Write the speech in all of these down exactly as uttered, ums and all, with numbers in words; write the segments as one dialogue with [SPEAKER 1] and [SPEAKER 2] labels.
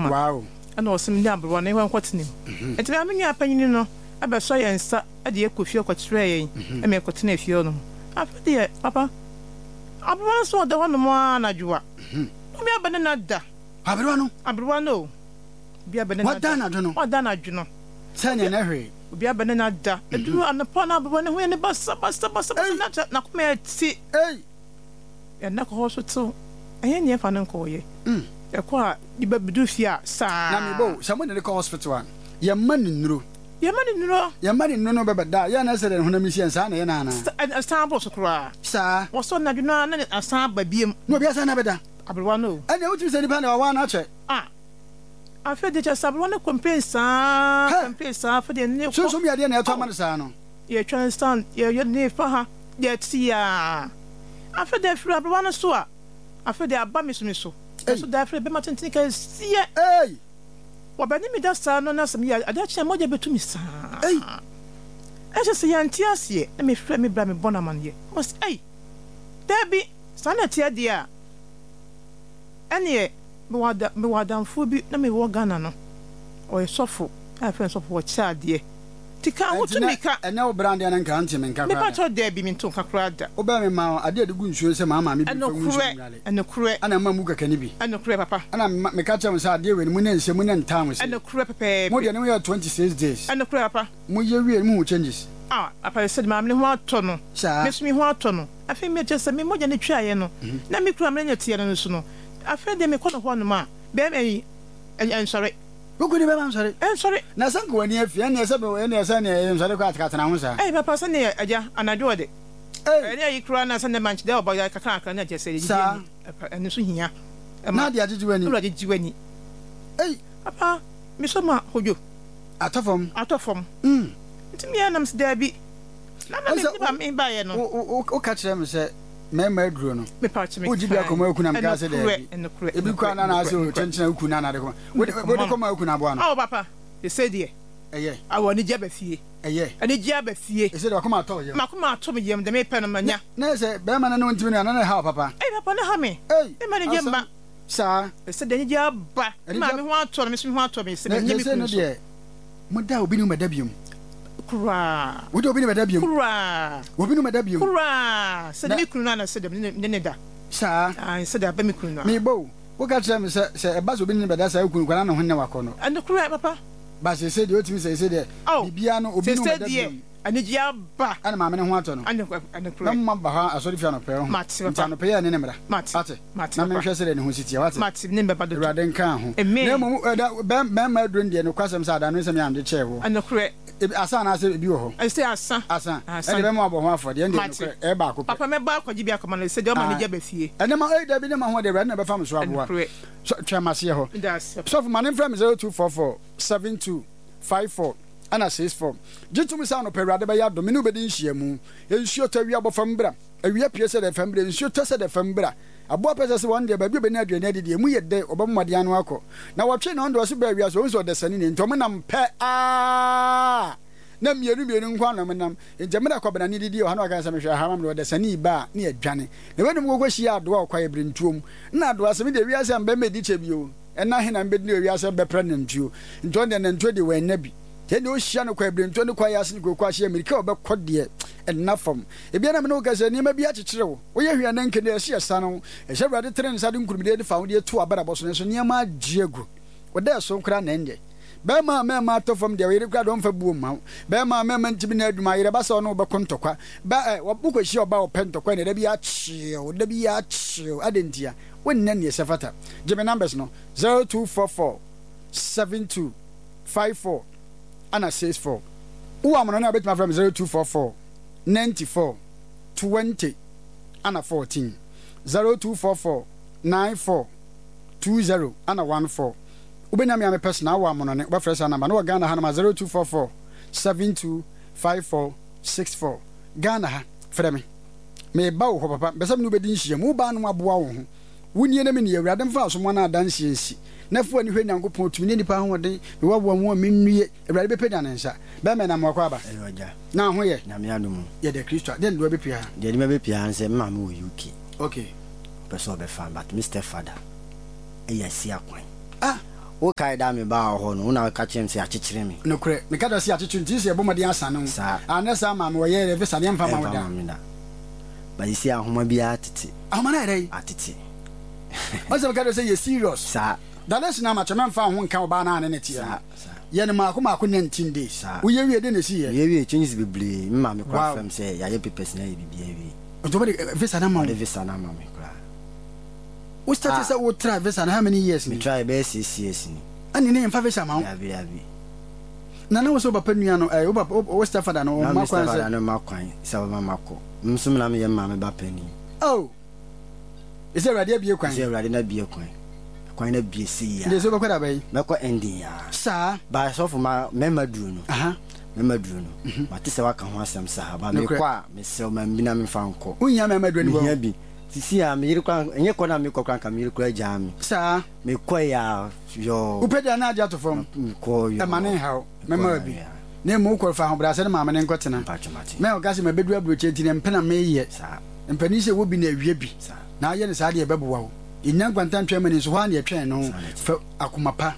[SPEAKER 1] kama.
[SPEAKER 2] Wow.
[SPEAKER 1] Ɛna ɔsɛ me ne aberewa no yɛnkɔ nkɔtena mu. Nti me nua panyini no ɛbɛsɔ yɛn nsa ɛde yɛ kɔ fie kɔkyerɛ yɛn ɛma yɛkɔtena fie hɔ nom. Afei deɛ papa, aberewa no so ɔda hɔ nom ara anadwo a, obi aba ne na da.
[SPEAKER 2] Aberewa no?
[SPEAKER 1] Aberewa no o. Obi aba ne na da.
[SPEAKER 2] Wada anadwo no?
[SPEAKER 1] Wada anadwo no.
[SPEAKER 2] Sɛ nea na hwee.
[SPEAKER 1] Obi aba ne na da. Eduru anɔpa na aberewa no ho yɛ ne basa basa basa basa na kyɛ n'akoma yɛ ti.
[SPEAKER 2] Ei!
[SPEAKER 1] Yɛn kɔ hɔ so tew. Ɛnyɛ nea ɛfa no nkɔɔyɛ. Ɛkɔ a nipa bi du fie a saa.
[SPEAKER 2] Na mebo sɛ mo de ne kɔ hospital a, yɛmma ne nnuro.
[SPEAKER 1] Yɛmma ne nnuro.
[SPEAKER 2] Yɛmma ne nnuro no bɛbɛda a, yɛn na ɛsɛ dɛ ne honam si yɛn saa na yɛ na ana.
[SPEAKER 1] Ɛsan bɔ so koraa.
[SPEAKER 2] Saa.
[SPEAKER 1] Wɔsɔ n'adwo no na asan aba biem.
[SPEAKER 2] Na obi asan na bɛda.
[SPEAKER 1] Aberewa no o.
[SPEAKER 2] Ɛnna wotumi sɛ nipa na wawa no akyɛ.
[SPEAKER 1] Ah. Afei de kyɛ sɛ aberewa no complain saa complain saa afei de ne kɔ.
[SPEAKER 2] Sunsun bi adeɛ na ɛtɔ ama no saa no.
[SPEAKER 1] Yɛtwa nsan yɛyɛ ne fa ha yɛte yaa. Afei de afiri aberewa no so a, afei de aba me so me so. Ɛso da afei bɛma tenten kɛseɛ.
[SPEAKER 2] Ei!
[SPEAKER 1] Wɔbɛne me da saa no na sɛ meyɛ ade akye a mogya bɛtu me saa.
[SPEAKER 2] Ei!
[SPEAKER 1] Ɛhyɛ sɛ yɛnte aseɛ na mefrɛ me bra mebɔ no amanneɛ. Ɔse ei! Daabi, saa na ɛteɛ deɛ a, ɛneɛ mewɔ adamfoɔ bi na mewɔ Ghana no, ɔyɛ sɔfo a yɛfrɛ no sɔfo ɔkyɛ adeɛ. Nti ka ho tumi ka.
[SPEAKER 2] Ɛnɛ wo bra deɛ no nka nte me nka koraa da.
[SPEAKER 1] Mepa kyɛw daabi mento nka koraa da.
[SPEAKER 2] Wobɛɛ me ma adeɛ a de gu nsuo sɛ maa maame bi fa ngu nsuo nwale.
[SPEAKER 1] Ɛnokorɛ.
[SPEAKER 2] Ɛna mma mu kɛkɛ ne bi.
[SPEAKER 1] Ɛnokorɛ papa.
[SPEAKER 2] Ɛna meka kyerɛ mo sɛ adeɛ wei no mo ne nhyɛ mo ne ntaa mo se.
[SPEAKER 1] Ɛnokorɛ pɛpɛɛpɛ.
[SPEAKER 2] Mo deɛ ne mo yɛ twenty six days.
[SPEAKER 1] Ɛnokorɛ papa.
[SPEAKER 2] Mo yɛ wie no mo hu changes.
[SPEAKER 1] Ah papa sɛ maame ne ho atɔ no.
[SPEAKER 2] Saa.
[SPEAKER 1] Me so me ho atɔ no. Afei me kyerɛ sɛ me mogya ne twaeɛ no. Na me kura me ne teɛ no so no. Afei deɛ mekɔ no hɔ nom a bɛrima yi ɛnsɔre.
[SPEAKER 2] Wokɔ ni bɛma nsɔre.
[SPEAKER 1] Ɛnsɔre.
[SPEAKER 2] Na sɛ nka w'ani afi ɛnneɛ sɛ ɛnneɛ sɛ ɛnneɛ nsɔre kɔ atekatena ho saa.
[SPEAKER 1] Ɛy papa sɛ neɛ agya anadwo ɔde. Ɛne ayi koraa na sɛ ne mankyɛ dɛ ɔbɔ kakra kakra na kyerɛ sɛ
[SPEAKER 2] Saa.
[SPEAKER 1] Ɛno so hia.
[SPEAKER 2] Na ade agyegye w'ani.
[SPEAKER 1] Ɛna agyegye w'ani.
[SPEAKER 2] Ei.
[SPEAKER 1] Papa mesɔ ma hodwo.
[SPEAKER 2] Atɔ fam.
[SPEAKER 1] Atɔ fam.
[SPEAKER 2] Mm.
[SPEAKER 1] Nti meyɛ nam sɛ daabi. Na na me ba me baeɛ no.
[SPEAKER 2] Woka kyerɛ me sɛ mmarima aduro no.
[SPEAKER 1] Mepa kyɛ me.
[SPEAKER 2] Wogye bi akɔma aku na meka sɛ daabi.
[SPEAKER 1] Ɛnokorɛ.
[SPEAKER 2] Ebi kɔ ana na asɛ kyenkyena aku na anade kɔma. Wode kɔma aku na aboa no.
[SPEAKER 1] Awo papa. Ɛsɛ deɛ.
[SPEAKER 2] Ɛyɛ.
[SPEAKER 1] Awo anigye aba fie.
[SPEAKER 2] Ɛyɛ.
[SPEAKER 1] Anigye aba fie.
[SPEAKER 2] Ɛsɛ deɛ wakoma atɔ yam.
[SPEAKER 1] Makoma atɔ me yam deɛ mepɛ no manya.
[SPEAKER 2] Na sɛ bɛrima no ne wo ntumi no ana na ɛha wo papa.
[SPEAKER 1] Ei papa ne ha me.
[SPEAKER 2] Ei.
[SPEAKER 1] Mema anigye mma.
[SPEAKER 2] Saa.
[SPEAKER 1] Ɛsɛ deɛ anigye aba. Ma me ho atɔ no me so me ho atɔ me sɛ menyɛ me kunu so.
[SPEAKER 2] Deɛ moda obi ne wo mɛda biom.
[SPEAKER 1] Koraa.
[SPEAKER 2] Wode obi ne mɛda biom.
[SPEAKER 1] Koraa.
[SPEAKER 2] Obi ne mɛda biom.
[SPEAKER 1] Koraa. Sɛ de me kunu no ana sɛ de ne ne da.
[SPEAKER 2] Saa.
[SPEAKER 1] Ah sɛ de aba me kunu no.
[SPEAKER 2] Mebɔ o. Woka kyerɛ me sɛ sɛ ɛba sɛ obi ne ne bɛda saa wo kunu kora na ne ho nyɛ wakɔ no.
[SPEAKER 1] Ɛno koraa papa.
[SPEAKER 2] Ba sese deɛ otumi sɛ sese deɛ biribiara no obi ne wo bɛda biom.
[SPEAKER 1] Anigye aba.
[SPEAKER 2] Ɛna maame ne ho atɔ no.
[SPEAKER 1] Ɛno
[SPEAKER 2] Na mma ba hɔ asɔre fie anɔpɛ ho.
[SPEAKER 1] Mate
[SPEAKER 2] Nti
[SPEAKER 1] papa.
[SPEAKER 2] anɔpɛ yɛ ne ne mmra.
[SPEAKER 1] Mate.
[SPEAKER 2] Ate.
[SPEAKER 1] Mate
[SPEAKER 2] Na
[SPEAKER 1] papa.
[SPEAKER 2] menhwɛ sɛdeɛ ne ho si teɛ wate.
[SPEAKER 1] Mate ne mbɛba dodo.
[SPEAKER 2] Awurade nka ho.
[SPEAKER 1] Amen.
[SPEAKER 2] Na mmom ɛda bɛrima aduro no deɛ nokwasɛm sɛ adano nsɛm yɛ amde kyɛɛ wo.
[SPEAKER 1] Ɛnokorɛ.
[SPEAKER 2] Ebi asa anaasɛ ebi wɔ hɔ.
[SPEAKER 1] Ɛsɛ asa.
[SPEAKER 2] Asa.
[SPEAKER 1] Asa.
[SPEAKER 2] Ɛde bɛma wabɔ ho afɔdeɛ ɛndeɛ
[SPEAKER 1] Mate.
[SPEAKER 2] nokorɛ ɛyɛ baako pɛ.
[SPEAKER 1] Papa mɛba akɔgye bi akɔma no sɛ deɛ ɔma anigye aba fie.
[SPEAKER 2] Ɛnɛ ma ɛyi dabi ne ma ho deɛ Awurade na ɛbɛfa me so aboa.
[SPEAKER 1] Ɛnokorɛ.
[SPEAKER 2] So twɛn maseɛ hɔ.
[SPEAKER 1] Meda ase.
[SPEAKER 2] Sɔfo ma ne mfrɛ me zero two four four seven two five four ɛna six four. Gye tom sɛ anɔpa Awurade bɛyɛ adom me ne wo bɛdi nhyiamu. Nsuo tɔ awia bɔ fam bra. Awia pue sɛ dɛ fam bra. Nsuo tɔ sɛ dɛ fam bra. Aboa pɛ sɛ sɛ wɔn deɛ baabi a ɔbɛnya aduane adi deɛ emu yɛ dɛ ɔbɛbɔ mmɔden ano akɔ. Na wɔtwe na ɔno deɛ ɔse baa wiase ɔhu sɛ ɔdasani nie nti ɔmo nam pɛ aa na mmienu mmienu nko ara na ɔmo nam. Nti mmerɛ akwabenane didi wɔ ha na waka sɛ mehwɛ ha ma me deɛ ɔdasani ba a ne yɛdwane. Na weinom kɔkɔ hyia adoa wɔ kwaeɛ berentuo mu. Na adoa sɛ me deɛ wiase a mebɛ mɛdi kyɛ bio. Ɛna he na mebɛdi wɔ wiase a mebɛpra nantuo. Nti ɔno deɛ nantuo deɛ wannya bi. Nti ɛndeɛ ɔhyia no kwaeɛ berentuo ne kwaeɛ ase ne kooko ahye mmirika a ɔbɛkɔ deɛ ɛnna fam. Ebia na me ne wo kasa yi nneɛma bi akyekyere wo. Woyɛ hwee a na nka deɛ ɛsɛ yɛsane wo. Ɛsɛ Awurade tene ne nsa de nkurumidie de fawodeɛ to w'abrabɔ so nanso nneɛma agye agu. Wo dɛ so koraa na ɛnyɛ. Bɛrima a mmarima atɔ fam deɛ ɔyere koraa deɛ ɔmfa buo mma wo. Bɛrima a mmarima ntumi nyɛ adwuma ayere ba sɛ ɔne wo bɛko ntɔkwa. Ba ɛ wokɔhyia ɔbaa a ɔpɛ ntɔkwa ɛnna da bi akyew da bi akyew adɛn ntia? Wonyɛ neɛ ɛsɛ fata. Gye me numbers no zero two four four seven two five four ɛna six four. Wowɔ amanɔne a wobɛtumi afrɛ me zero two four four ninety four twenty ana fourteen zero two four four nine four two zero ana one four. Wobɛnya me a me personal wɔ amonɔne wobɛfrɛ saa number no wɔ Ghana hanom a zero two four four seven two five four six four. Ghana ha frɛ me meba wo hɔ papa mepɛ sɛ me ne wo bɛdi nhyiam wo baa no aboa wo ho wo nie na me nie Awurade mfa asomoa no adanseɛ nsi na fa w'ani hwɛ Nyankopɔn tumi ne nnipa ahoɔden mewaboa mu a mennue Awurade bɛpagya ne nsa bɛmɛ na mmoakɔ aba
[SPEAKER 3] Ɛyɛ ɔgya.
[SPEAKER 2] Na ho yɛ.
[SPEAKER 3] Nyame adom o.
[SPEAKER 2] Yɛda Kristo a. Dɛn na ɛde wo abɛpue ha?
[SPEAKER 3] Deɛ ɛde me abɛpue ha ne sɛ me maame wɔ U K.
[SPEAKER 2] Okay.
[SPEAKER 3] Ɔpɛ sɛ ɔbɛfa me but me step father ɛyɛ asi akwan.
[SPEAKER 2] Ah!
[SPEAKER 3] Wokae da mebaa wo hɔ no, wo na woka kyerɛɛ me sɛ yɛakyekyere me.
[SPEAKER 2] Nokorɛ, meka kyerɛ wo sɛ yɛakyekyere nti sɛ yɛbɔ mmɔden asane wo.
[SPEAKER 3] Saa.
[SPEAKER 2] Anyɛ saa maame wɔyɛ yɛ visa no yɛmfa mma wo
[SPEAKER 3] Ɛmfa
[SPEAKER 2] da.
[SPEAKER 3] mma me da. But seesei ahoma biara atete.
[SPEAKER 2] Ahoma no ayɛ dɛn?
[SPEAKER 3] Atete.
[SPEAKER 2] Wohu sɛ meka kyerɛ wo sɛ yɛ serious.
[SPEAKER 3] Saa.
[SPEAKER 2] Dalesi no amakyɛ mɛmfa wo ho nka ɔbaa no a ne ne teɛ no.
[SPEAKER 3] Saa, saa.
[SPEAKER 2] Yɛ no maako maako nineteen days.
[SPEAKER 3] Saa.
[SPEAKER 2] Woyɛ wie dɛn na ɛsiiɛ?
[SPEAKER 3] Meyɛ wie changes bebree. Me maame koraa
[SPEAKER 2] Wow.
[SPEAKER 3] frɛ me sɛ yɛayɛ papers no ayɛ biribiara awie.
[SPEAKER 2] Nti wɔde visa no ama wo?
[SPEAKER 3] Wɔde visa no ama me koraa.
[SPEAKER 2] Wo start
[SPEAKER 3] Ah.
[SPEAKER 2] sɛ wo try visa no how many years
[SPEAKER 3] Me
[SPEAKER 2] ni?
[SPEAKER 3] try bɛyɛ six years ni.
[SPEAKER 2] Ɛne ne yɛmfa visa ma wo?
[SPEAKER 3] Dabi dabi.
[SPEAKER 2] Na na wo sɛ wo papa nua no ɛɛ wo papa wo stepfather no
[SPEAKER 3] Na
[SPEAKER 2] ɔmma
[SPEAKER 3] me
[SPEAKER 2] kwan
[SPEAKER 3] stepfather
[SPEAKER 2] sɛ.
[SPEAKER 3] no mma kwan sɛ ɔbɛma makɔ. Me nso na meyɛ me maame ba panin.
[SPEAKER 2] Oh! Ɛsɛ Awurade abue kwan.
[SPEAKER 3] Ɛsɛ Awurade no abue kwan. Kwan no abue sei
[SPEAKER 2] Nti
[SPEAKER 3] a.
[SPEAKER 2] sɛ wobɛkɔ da bɛn?
[SPEAKER 3] Mɛkɔ ending a.
[SPEAKER 2] Saa.
[SPEAKER 3] Ba sɔfo ma mɛma duro no.
[SPEAKER 2] Aha.
[SPEAKER 3] Mɛma duro no. Mate sɛ waka ho asɛm saa. Ba
[SPEAKER 2] Nokorɛ.
[SPEAKER 3] mekɔ a mesrɛ wo ma bi na memfa nkɔ.
[SPEAKER 2] Wonhia mɛma duro no bi
[SPEAKER 3] Mehia
[SPEAKER 2] wɔ.
[SPEAKER 3] bi. Sisi a me yere koraa ɛnyɛ kɔ na mekɔ koraa nka me yere koraa gyaa me.
[SPEAKER 2] Saa.
[SPEAKER 3] Mekɔe a yɔɔ.
[SPEAKER 2] Wopɛ deɛ na agye ato fam.
[SPEAKER 3] Mekɔ yɔɔ.
[SPEAKER 2] Ɛma ne nhaw.
[SPEAKER 3] Mekɔ
[SPEAKER 2] Mɛma
[SPEAKER 3] na
[SPEAKER 2] bi.
[SPEAKER 3] yɛ.
[SPEAKER 2] Na mmom wokɔ fa ahobrɛase ne maame no nkɔtena.
[SPEAKER 3] Mpatwo mate.
[SPEAKER 2] Mɛ ɔka sɛ mabɛduru aburokyire nti na mpɛ na meyɛ.
[SPEAKER 3] Saa.
[SPEAKER 2] Mpanin sɛ wɔ bi na awie bi.
[SPEAKER 3] Saa.
[SPEAKER 2] Na ayɛ no saa deɛ ɛbɛboa wo. Yɛnnya nkwanta ntwɛn ma ni nso hɔ ara na yɛtwɛn no.
[SPEAKER 3] Saa na ɛte.
[SPEAKER 2] Fa akoma pa.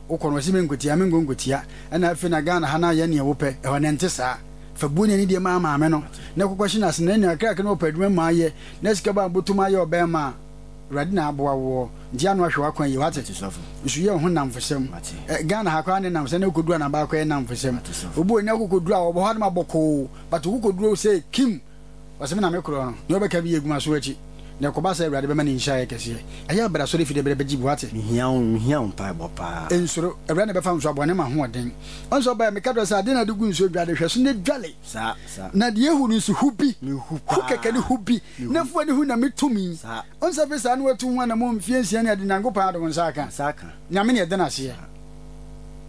[SPEAKER 2] Wokɔ no wɔse menkotia menkɔ nkotia. Ɛna afei na Ghana ha no ayɛ neɛ wopɛ. Ɛhɔ no ɛnte saa. Fa buo ne anidie ma maame no. Na kɔkɔ hye no ase na nea kakra na ɔpɛ adwuma mu ayɛ. Na sika ba bɔtɔ mu ayɛ ɔbɛrima a Awurade na aboa woɔ. Nti ano ahwɛ w'akwan yie wate.
[SPEAKER 3] Mate sɔfo.
[SPEAKER 2] Nso yɛ wo ho nnamfosɛm.
[SPEAKER 3] Mate.
[SPEAKER 2] Ɛ Ghana ha koraa ne nnamfosɛm na wokɔduru anaba akɔyɛ nnamfosɛm.
[SPEAKER 3] Mate sɔfo.
[SPEAKER 2] Obi wɔ nya wokɔkɔduru a ɔbɔ hɔ adom abɔkoo but wokɔduru sɛ kim ɔsɛ me na me korɔ no nea ɔbɛka bi yɛ gu m'aso akyi na ɛkɔba sɛ Awurade bɛma ne nhyira ayɛ kɛseɛ. Ɛyɛ a bra asɔre fie dɛ brɛ bɛgye bi wate.
[SPEAKER 3] Mehia wo mehia wo mpaebɔ paa.
[SPEAKER 2] Nsuro, Awurade na ɛbɛfa nso aboa ne ma ahoɔden. Ɔno sɛ ɔbaeɛ meka kyerɛ wo sɛ adeɛ na ade gu nsuo dwale hwɛ so na dwale.
[SPEAKER 3] Saa saa.
[SPEAKER 2] Na deɛ ehu no nso hu bi.
[SPEAKER 3] Mehu
[SPEAKER 2] Hu
[SPEAKER 3] paa.
[SPEAKER 2] kɛkɛ ne hu bi.
[SPEAKER 3] Mehu.
[SPEAKER 2] Na fua ne hu na me tumi.
[SPEAKER 3] Saa.
[SPEAKER 2] Ɔno sɛ afei saa na watu ho anammɔn mfeɛ nsia ne ade Nyankopɔn adom nsa aka.
[SPEAKER 3] Nsa aka.
[SPEAKER 2] Nyame ne ɛda no aseɛ.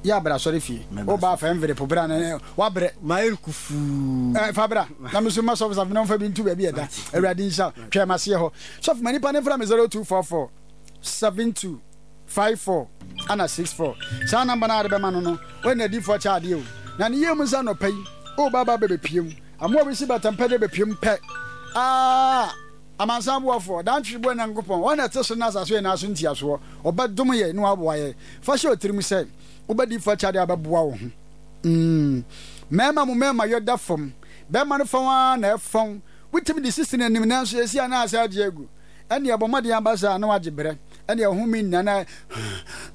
[SPEAKER 2] Yɛ abra asɔre fie.
[SPEAKER 3] Mɛba
[SPEAKER 2] Wo ba
[SPEAKER 3] so.
[SPEAKER 2] afa envelope bra na wabrɛ.
[SPEAKER 3] Mayɛ kufuu.
[SPEAKER 2] Eh, fa bra. Na me nso ma sɔfo safo na ɔmfa bi nto baabi ɛda. Awurade nhyira wo. Twɛn m'aseɛ hɔ. Sɔfo ma nipa no mfra me zero two four four seven two five four ana six four. Saa namba no a wode bɛma no no, wɔne n'adiyifoɔ kyɛ adeɛ o. Na ne yie mu nso anɔpa yi, woba aba bɛbɛpue mu. Amoa a wɔsi batampɛ de bɛpue mu pɛ. Ah! Amansan Boafoɔ, Daantwere Boa Nyankopɔn, Ɔno na ɛte soro ne asase nyinaa so ntiasoɔ. Ɔbɛdom yɛn na waboa yɛn. Fa hyɛ wo tirim sɛ, wobɛdi fa kyɛ adeɛ a bɛboa wo ho. Mm. Mmarima mo mmarima yɔ da fam. Barima no fɔn ara na ɛfɔn. Wotumi de sisi n'anim nanso esi a na asa agye agu. Ɛnneɛ bɔ mmɔden aba saa na wagye berɛ. Ɛnneɛ wo home nnya na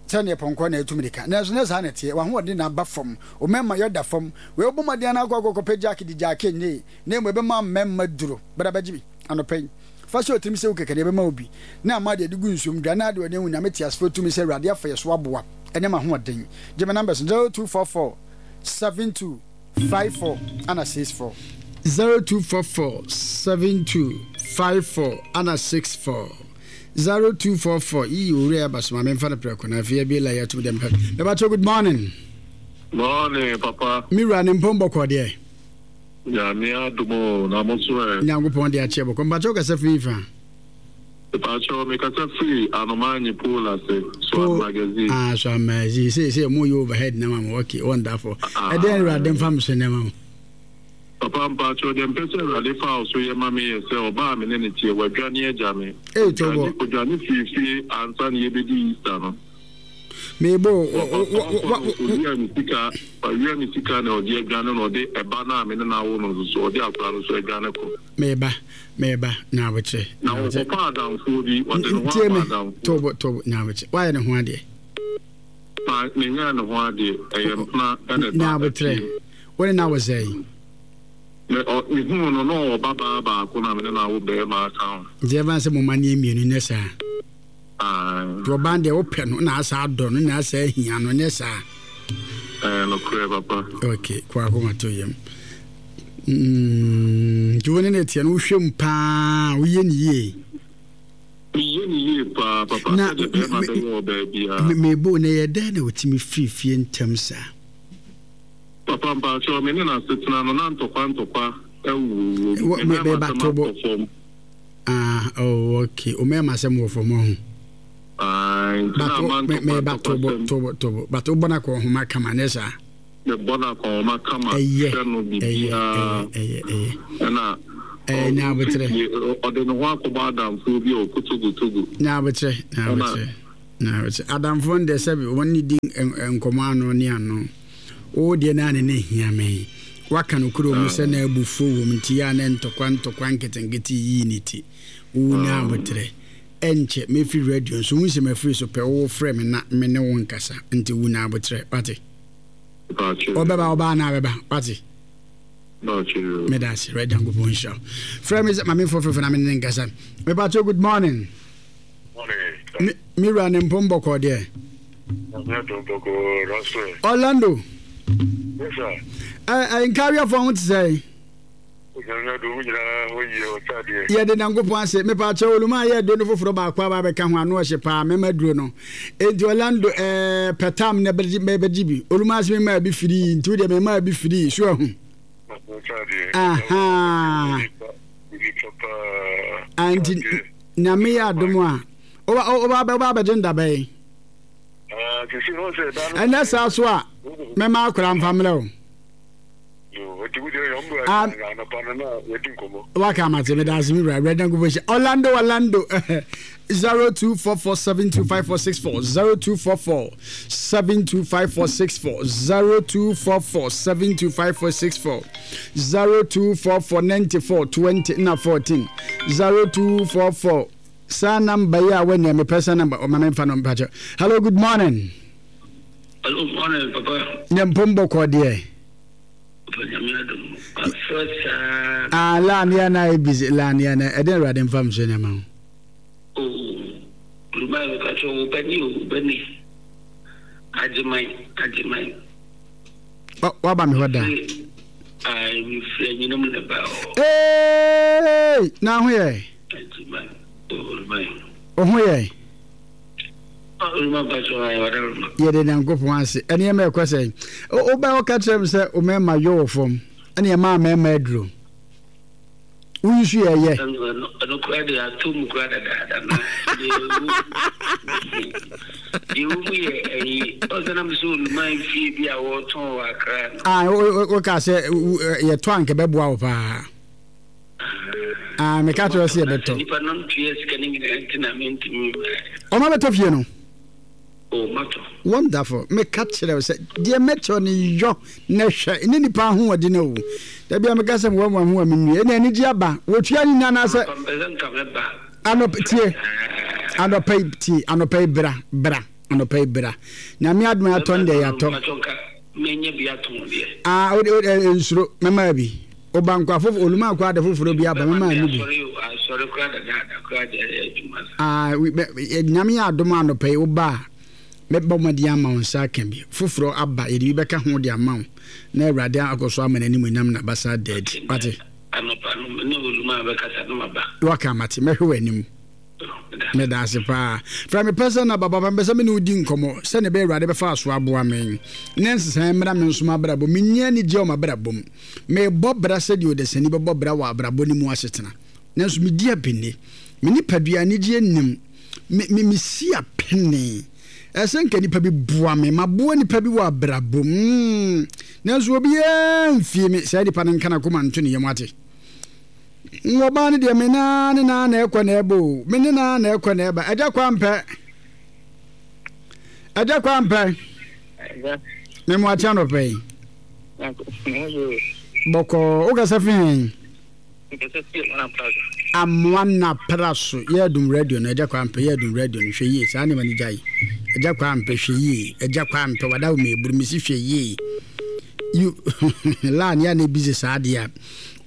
[SPEAKER 2] sɛdeɛ pɔnkɔ na ɛtu mmirika. Nanso nyɛ saa na ɛteɛ. W'ahoɔden na aba fam. Wo mmarima yɔ da fam. Wei wobɔ mmɔden ara akɔ akɔkɔpɛ jack di jack nyee. Na mmom ɛbɛma mmarima duro. Bra bɛgye bi anɔpa yi. Fa hyɛ wo tirim sɛ wo kɛkɛ na ɛbɛma wo bi, na ama deɛ ɛde gu nsuom dwa, na ade w'ani ahu Nyame teasefoɔ tumi sɛ Awurade afa yɛ so aboa ɛne m'ahoɔden. Gye me numbers no, zero two four four seven two five four ana six four. Zero two four four seven two five four ana six four. Zero two four four Yii owura yi aba so ma memfa no prɛko na afei abie line atum deɛ mepɛ. Mepakyɛw good morning.
[SPEAKER 4] Morning papa.
[SPEAKER 2] Me wura ne mpom bɔkɔɔ deɛ.
[SPEAKER 4] Nyame adom o, na mo so ɛ?
[SPEAKER 2] Nyankopɔn de akyɛ bɔkɔ. Mpakyɛw kasa firi fa?
[SPEAKER 4] Mpakyɛw me kasa firi Anomanyi pool ase, Soad Magazine.
[SPEAKER 2] Ah, Soad Magazine. Sei sei mo yɛ overhead na ma mo. Okay, wonderful. Ɛdɛn Awurade mfa me so nneɛma mo?
[SPEAKER 4] Papa mpakyɛw deɛ mpɛ sɛ Awurade fa wo so yɛ ma me yɛ sɛ ɔbaa a me ne no teɛ wadwane agya me.
[SPEAKER 2] Ei, Tobo.
[SPEAKER 4] Ɔdwane ɔdwane firii fie ansa na yɛbɛdi Easter no.
[SPEAKER 2] Mebo
[SPEAKER 4] Ɔkɔ no owia me sika wawia me sika na ɔde adwane na ɔde ɛba no a me ne no awo no nso so ɔde akwadaa no nso adwane kɔ.
[SPEAKER 2] Meba meba nyabokyerɛ.
[SPEAKER 4] Na ɔkɔfa adamfoɔ bi ɔde ne ho
[SPEAKER 2] Tie
[SPEAKER 4] ama
[SPEAKER 2] me
[SPEAKER 4] adamfoɔ.
[SPEAKER 2] tobo tobo nyabokyerɛ wayɛ ne ho adeɛ.
[SPEAKER 4] Ma menyɛɛ ne ho adeɛ ɛyɛ mpena ɛna ɛba
[SPEAKER 2] Nyabotrɛ
[SPEAKER 4] afie.
[SPEAKER 2] wo ne no awo sɛn?
[SPEAKER 4] Me ɔ mehuu no na ɔwɔ babaa baako na me ne no awo barima aka ho.
[SPEAKER 2] Nti ɛmfa no sɛ mo mma no yɛ mmienu nyɛ saa?
[SPEAKER 4] Ae.
[SPEAKER 2] Nti ɔbaa no deɛ wopɛ no na asa adɔ no na asa ahia no nyɛ saa?
[SPEAKER 4] Ɛyɛ nokorɛ papa.
[SPEAKER 2] Ok, kɔ akoma to yam. Mm, nti wo ne no teɛ no wohwɛ mu paa woyɛ ne yie?
[SPEAKER 4] Meyɛ ne yie paa papa
[SPEAKER 2] Na
[SPEAKER 4] sɛdeɛ bɛrima bɛyɛ ɔbaa biara.
[SPEAKER 2] mebo na ɛyɛ dɛn na wotumi firi fie ntɛm saa?
[SPEAKER 4] Papa mpakyɛw me ne no asetena no na ntɔkwa ntɔkwa wɔ mu, me mmarima asɛm atɔ fam.
[SPEAKER 2] Ah oh okay, wo mmarima asɛm wɔ fam ɔho.
[SPEAKER 4] Ae, nti na ama ntɔkwa
[SPEAKER 2] meba
[SPEAKER 4] ntɔkwa
[SPEAKER 2] tobo
[SPEAKER 4] sɛm.
[SPEAKER 2] tobo tobo, but wobɔ no akɔnhoma kama nyɛ saa?
[SPEAKER 4] Mebɔ no akɔnhoma kama,
[SPEAKER 2] Ɛyɛ
[SPEAKER 4] hwɛ no
[SPEAKER 2] ɛyɛ
[SPEAKER 4] biribiara
[SPEAKER 2] ɛyɛ ɛyɛ ɛyɛ.
[SPEAKER 4] ɛna
[SPEAKER 2] Ɛyɛ nya aboterɛ.
[SPEAKER 4] ɔde ne ho akɔbɔ adamfoɔ bi a ɔkɔ Togo Togo.
[SPEAKER 2] Nya aboterɛ nya
[SPEAKER 4] Ɛna
[SPEAKER 2] aboterɛ. Na sɛ adamfoɔ no deɛ sɛbi wɔn ne di nkɔmɔ ano ne ano. Wo deɛ naa ne ne hia me. Waka no kuro mu sɛ na abufuo wɔ mu nti yɛ a na ntɔkwa ntɔkwa nketenkete yii ne ti. Wo nya abotrɛ. Ɛnkyɛ mɛfiri radio nso wohu sɛ mafiri so pɛ wo frɛ me na me ne wo nkasa nti wo nya abotrɛ. Wate? Ɔbɛba ɔbaa na abɛba. Wate? Meda ase. Right, Nyankopɔn nhyira wo. Frɛ me sɛ ma memfo frɛfrɛ na me ne ne nkasa. Mepakyɛw, good morning. Morning. Me wura ne mpom bɔkɔɔ deɛ. Orlando.
[SPEAKER 4] Yes sir.
[SPEAKER 2] Ɛ nkawiafoɔ ho te sɛ. Yɛde Nyankopɔn ase. Mepakyɛw, oluma yɛ aduro no foforɔ baako aba abɛka ho ano ɔhye paa mɛma aduro no. Enti Orlando ɛɛ pɛtam na bɛgye bi. Oluma ase mema bi firi nti wo deɛ mema bi firi so ahu. Aha. Anti Nyame yɛ adom a woba abɛgye ndabɛn. Ɛnɛ saa so a mɛma akora mfa mmerɛ o. Waka amate meda ase me wura awurade Nyankopɔn hyɛ Orlando Orlando zero two four four seven two five four six four zero two four four seven two five four six four zero two four four seven two five four six four zero two four four ninety four twenty na fourteen zero two four four saa namba yi a wɔnyɛ mepɛ sɛ namba ɔma memfa no mpakyɛ. Hello, good morning.
[SPEAKER 5] Hello, morning, papa.
[SPEAKER 2] Ne mpom bɔkɔ deɛ. Ah, laan ya na ayɛ busy, laan ya na ɛdɛn Awurade mfa me so nneɛma ho.
[SPEAKER 5] Oh, Olùmọ̀ mi ka kyerɛ wo bɛ ni o bɛ ni Agyeman Agyeman.
[SPEAKER 2] Waba me hɔ da.
[SPEAKER 5] Ayi mi firi anyinam na ba hɔ.
[SPEAKER 2] Ee, na ho yɛ.
[SPEAKER 5] Agyeman Olùmọ̀.
[SPEAKER 2] O ho yɛ.
[SPEAKER 5] Olùmọ̀
[SPEAKER 2] Yɛde Nyankopɔn ase. Ɛnneɛma ɛkɔ sɛ wobɛ woka kyerɛ me sɛ wo mmarima yɔ wɔ fam ɛne ɛmaa mmarima aduro woyi so yɛ yɛ.
[SPEAKER 5] Ɛno kora de ato mu kora dadaada na deɛ wo mu yɛ ɛyi ɔsɛ na mesɛ oluman fie bi a wɔtɔn wɔ Akra no.
[SPEAKER 2] Ah, woka sɛ yɛtɔ anka bɛboa wo paa. Ah, meka kyerɛ sɛ yɛbɛtɔ.
[SPEAKER 5] Nipa no ntua sika no nyinaa nti na mentumi.
[SPEAKER 2] Ɔma bɛtɔ fie no.
[SPEAKER 5] Oh, matɔ.
[SPEAKER 2] Wonderful. Meka kyerɛ wo sɛ deɛ mɛkyerɛ no yɔ na hwɛ ne nipa ahoɔden o. Da bia meka sɛ mewɔ mo ho a menwie. Ɛna anigye aba. Wɔtua ne nyinaa anaasɛ. Anɔpa tie. Anɔpa yi tie. Anɔpa yi bra bra. Anɔpa yi bra. Nyame adom atɔ no deɛ yɛatɔ.
[SPEAKER 5] Menya bi atɔn deɛ.
[SPEAKER 2] Ah, o de nsuro mɛma bi. Oba nkwa foforo oluma akɔ ade foforo bi aba mɛma no bi.
[SPEAKER 5] Asɔre kora dadaada kora deɛ ɛyɛ adwuma.
[SPEAKER 2] Ah, Nyame yɛ adom anɔpa yi woba a mɛbɔ mmɔden ama wo nsa aka bi. Foforɔ aba yɛde bi bɛka ho de ama wo na Awurade akɔ so ama n'anim nyam na basa da adi. Wate?
[SPEAKER 5] Anɔpa no ne oluma bɛkasa no maba.
[SPEAKER 2] Waka mate mɛhwɛ w'anim. Meda ase paa. Fra me pɛ sɛ na baba mepɛ sɛ me ne wo di nkɔmmɔ sɛnea ɛbɛyɛ Awurade bɛfa aso aboa me na nsesaeɛ mmra me nso m'abrabɔ. Menni anigyeɛ wɔ m'abrabɔ mu. Mebɔ bra sɛdeɛ ɔdasani bɛbɔ bra wɔ abrabɔ no mu asetena. Nanso medi apene. Me nipadua anigyeɛ nnim. Me, me, mesi apene. Ɛsɛ nka nipa bi boa me. Maboa nipa bi wɔ abrabɔ mu. Nanso obiara mfie me. Saa nipa no nka n'akoma nto ne yam ate. Ɔbaa no deɛ me naa ne naa na ɛkɔ na ɛba o. Me ne naa na ɛkɔ na ɛba. Ɛgya kwa mpɛ. Ɛgya kwa mpɛ. Me mo akyɛ anɔpɛ yi. Bɔkɔɔ wokasa fi hɛn? Amoa na pra so. Yɛ dum radio no ɛgya kwa mpɛ yɛ dum radio no hwɛ yie saa nneɛma no gyae. Ɛgya kwa mpɛ hwɛ yie. Ɛgya kwa mpɛ wada wo meburu mesi hwɛ yie. You la ne ya na busy saa deɛ a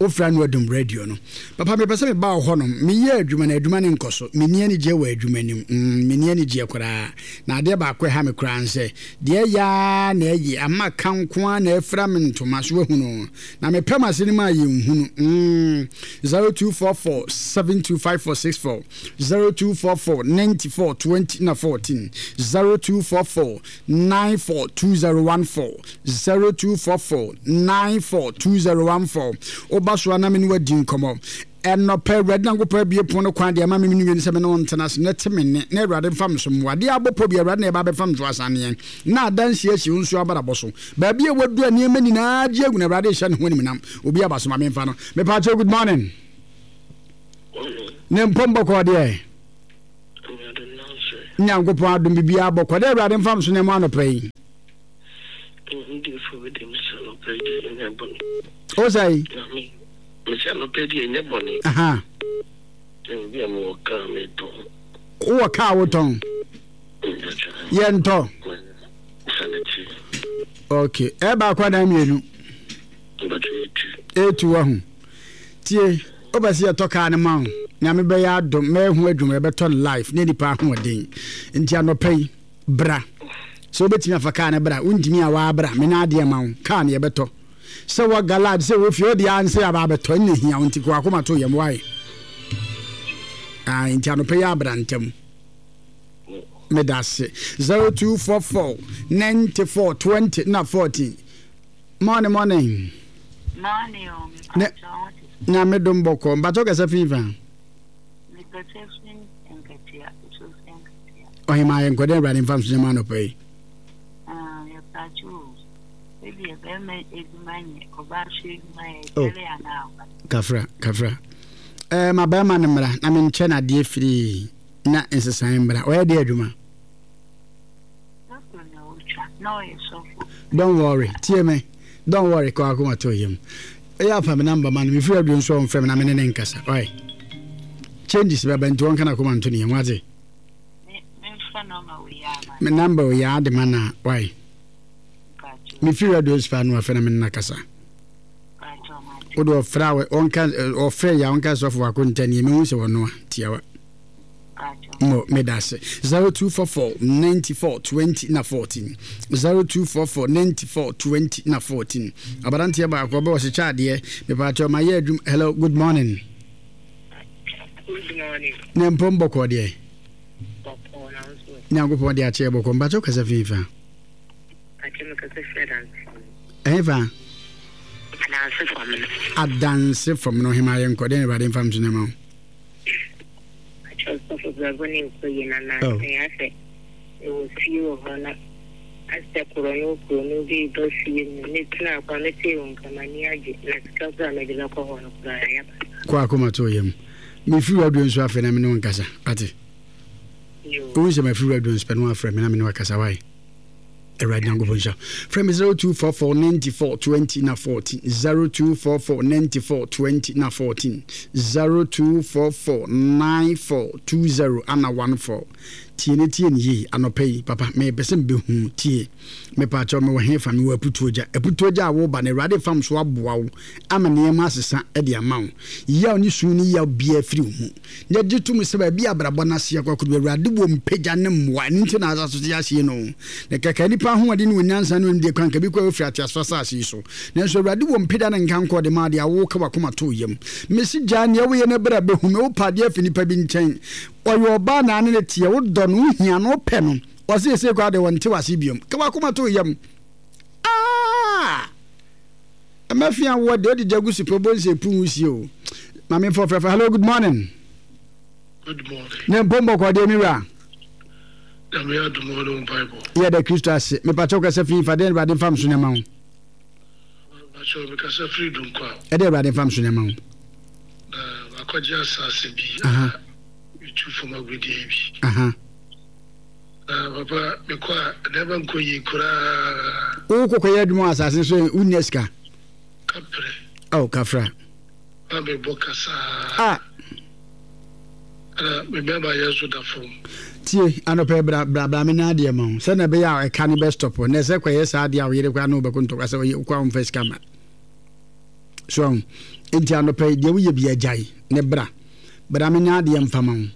[SPEAKER 2] wofra no adum radio no. Papa mepɛ sɛ meba wo hɔ nom. Meyɛ adwuma na adwuma ne nkɔ so. Menni anigyeɛ wɔ adwuma nim. Mm, menni anigyeɛ koraa. Na adeɛ baako ɛha me koraa nsɛ deɛ ɛyɛ na ɛyɛ ama ka nko ara na ɛfira me ntoma so ahunu. Na mepɛ m'ase no mu a yɛnhunu. Mm, zero two four four seven two five four six four zero two four four ninety four twenty na fourteen zero two four four nine four two zero one four zero two four four nine four two zero one four. Oba so na me ne wadi nkɔmmɔ. Ɛnɔpɛ Awurade Nyankopɔn abie pon no kwan deɛ ma me mene sɛ me ne wo ntena ase na te me nne na Awurade mfa me so mmoa. Deɛ abɔ pɔ bi Awurade na ɛba bɛfa me so asaneɛ na adansi asi wo nso abrabɔ so. Baabi a wadu a nneɛma nyinaa gye agu na Awurade hyɛ ne ho animuonyam. Obi aba so ma memfa no. Mepa kyɛw, good morning. Ne mpɔmbɔkɔ deɛ. Nyankopɔn adom biribiara bɔkɔ dɛ Awurade mfa me so nneɛma anɔpa yi.
[SPEAKER 5] Ndefo bi de mesɛ anɔpa yi deɛ ɛnyɛ bɔne.
[SPEAKER 2] O sɛe?
[SPEAKER 5] Nyame, mesɛ anɔpa yi deɛ ɛnyɛ bɔne.
[SPEAKER 2] Aha.
[SPEAKER 5] Bi a mewɔ kaa metɔn.
[SPEAKER 2] Wowɔ kaa wotɔn? Yɛntɔ. Ok, ɛyɛ baako anaa mmienu? Etu wahu. Tie, wopɛ sɛ yɛtɔ kaa no ma wo. Nyame bɛyɛ adom, mɛyɛ ho adwuma, yɛbɛtɔ no life ne nipa ahoɔden. Nti anɔpa yi, bra. Sɛ wobɛtumi afa kaa no bra, wontumi a waa bra, me na adeɛ ma wo, kaa no yɛbɛtɔ. Sɛ wɔ galad, sɛ wɔ fie, wode ara nsɛ aba abɛtɔ, ɛnna hia wo nti kɔ akoma to yam, wae. Ah, nti anɔpa yi abra ntɛm. Meda ase. Zero two four four ninety four twenty na fourteen. Morning, morning.
[SPEAKER 6] Morning o,
[SPEAKER 2] Ne
[SPEAKER 6] mepakyɛ wo te sɛ.
[SPEAKER 2] Nyame dom bɔkɔ. Mpakyɛ kasa fi fa.
[SPEAKER 6] Mekasa fi Nkatia, Sofi Nkatia.
[SPEAKER 2] Ɔhema yɛ nkɔdɛ Awurade mfa nso nyɛma anɔpa yi.
[SPEAKER 6] Ah, yɛpakyɛ o. Ebi bɛrima adwuma nyɛ, ɔbaa so adwuma yɛ,
[SPEAKER 2] Oh.
[SPEAKER 6] kyɛre anaa ɔba.
[SPEAKER 2] Kafra, kafra. Eh, ma bɛrima no mmra na menkyɛ no adeɛ firii na nsesaeɛ mmra. Ɔyɛ deɛ adwuma?
[SPEAKER 6] Sɔfo na otwa, na ɔyɛ sɔfo.
[SPEAKER 2] Don't worry, tie me. Don't worry, kɔ akoma to yam. Ɛyɛ afa me namba ma no, mefiri aduro nso ɔmfrɛ me na me ne ne nkasa. Ɔyɛ. Changes bɛba nti wɔnka n'akoma nto ne yam, wate?
[SPEAKER 6] Me memfa nɔma wei ama.
[SPEAKER 2] Me namba wei ade ma na, why?
[SPEAKER 6] Mpakyɛ.
[SPEAKER 2] Mefiri aduro nso paa no afrɛ na me ne no akasa.
[SPEAKER 6] Mpakyɛ ɔmate.
[SPEAKER 2] Wode ɔfrɛ a ɔnka ɔfrɛ yɛ a ɔnka sɔfo wako ntɛneɛ mehu sɛ wɔnoa tiawa. Mo meda ase. Zero two four four ninety four twenty na fourteen. Zero two four four ninety four twenty na fourteen. Aberanteɛ baako ɔbɛ ɔhyehyɛ adeɛ. Mepaakyɛw ma yɛ adwuma. Hello, good morning.
[SPEAKER 7] Good morning.
[SPEAKER 2] Ne mpom bɔkɔɔ deɛ.
[SPEAKER 7] Bɔkɔɔ na nso.
[SPEAKER 2] Nyankopɔn de akyɛ bɔkɔɔ. Mpakyɛw kasa fi fa.
[SPEAKER 7] Mpakyɛw me kasa fi adanse fam.
[SPEAKER 2] Ɛhe fa?
[SPEAKER 7] Adanse fam no.
[SPEAKER 2] Adanse fam no hema yɛ nkɔ deɛ na Awurade mfa mso nneɛma ho.
[SPEAKER 7] Akyɛ ɔsɔfo brabɔ ne nkɔ yie na nansa yi asɛ mewɔ fie wɔ hɔ na asɛ korɔno korɔno bi reba fie mu me tena kwa me tee wo nka m'ani agye na sika koraa mede bɛkɔ hɔ no koraa ayɛ basaa.
[SPEAKER 2] Kɔ akoma to yam. Mefiri radio nso afei na me ne wo nkasa. Ate? Wohu sɛ mafiri radio nso pɛ na wafrɛ me na me ne wakasa wae. Awurade Nyankopɔn nhyira. Frɛ me zero two four four ninety four twenty na fourteen zero two four four ninety four twenty na fourteen zero two four four nine four two zero ana one four. Tie ne tie ne yie anɔpa yi papa mepɛ sɛ mebɛhu tie mepaakyɛw mewɔ hefa mewɔ aputuogya aputuogya a woba no Awurade fam so aboa wo ama nneɛma asesa de ama wo yaw ne su ne yaw biara firi wo mu na gye tom sɛ baabi a abrabɔ no ase akɔ akɔdu Awurade wɔ mpagya ne mmoa ɛno nti na asase so asie no na kɛkɛ nipa ahoɔden ne onyansa ne onimdeɛ kwan kabi kɔ afiri ateasefoɔ asase yi so nanso Awurade wɔ mpagya ne nkankɔ de ma adeɛ a woka wakoma to yam mesi gyaa nea woyɛ no berɛ a bɛhu me wopɛ adeɛ afi nipa bi nkyɛn ɔyɛ ɔbaa na ane ne teɛ wodɔ no wohia no wopɛ no ɔse ɛsei koraa deɛ wɔnte wase biom ka wakoma to yam ah ɛmɛfia woɔ deɛ wode gya gu so pɛ wobɛhu sɛ ɛpu nwusie o maame mfa ɔfrɛfrɛ hello good morning.
[SPEAKER 8] Good morning.
[SPEAKER 2] Ne mpom bɔkɔ deɛ me wura.
[SPEAKER 8] Nyame adom wo ne mpaebɔ.
[SPEAKER 2] Yɛda Kristo ase. Mepakyɛw kasa fi fa deɛ Awurade mfa mso nneɛma ho.
[SPEAKER 8] Mepakyɛw mekasa firi Dunkwa.
[SPEAKER 2] Ɛde Awurade mfa mso nneɛma ho.
[SPEAKER 8] Na makɔgye asase bi a metu fam agudeɛ bi.
[SPEAKER 2] Aha.
[SPEAKER 8] Na papa mekɔ a nneɛma nkɔ yie koraa.
[SPEAKER 2] Wokɔkɔyɛ adwuma wɔ asase so wonnya sika.
[SPEAKER 8] Kaprɛ.
[SPEAKER 2] Oh, kafra.
[SPEAKER 8] Na mebɔ kasaa.
[SPEAKER 2] Ah.
[SPEAKER 8] Ɛna me bɛrima yɛ nso da fam.
[SPEAKER 2] Tie, anɔpɛ bra bra bra me nya adeɛ ma wo. Sɛ na ɛbɛyɛ a ɛka ne bɛ stop. Na ɛsɛ kɔyɛ saa adeɛ a wo yere koraa ne wo bɛko ntɔkwa sɛ ɔyɛ wokɔ a womfa sika ma. So ahu. Enti anɔpɛ yi deɛ woyɛ bi agyae ne bra. Bra me nya adeɛ mfa ma wo.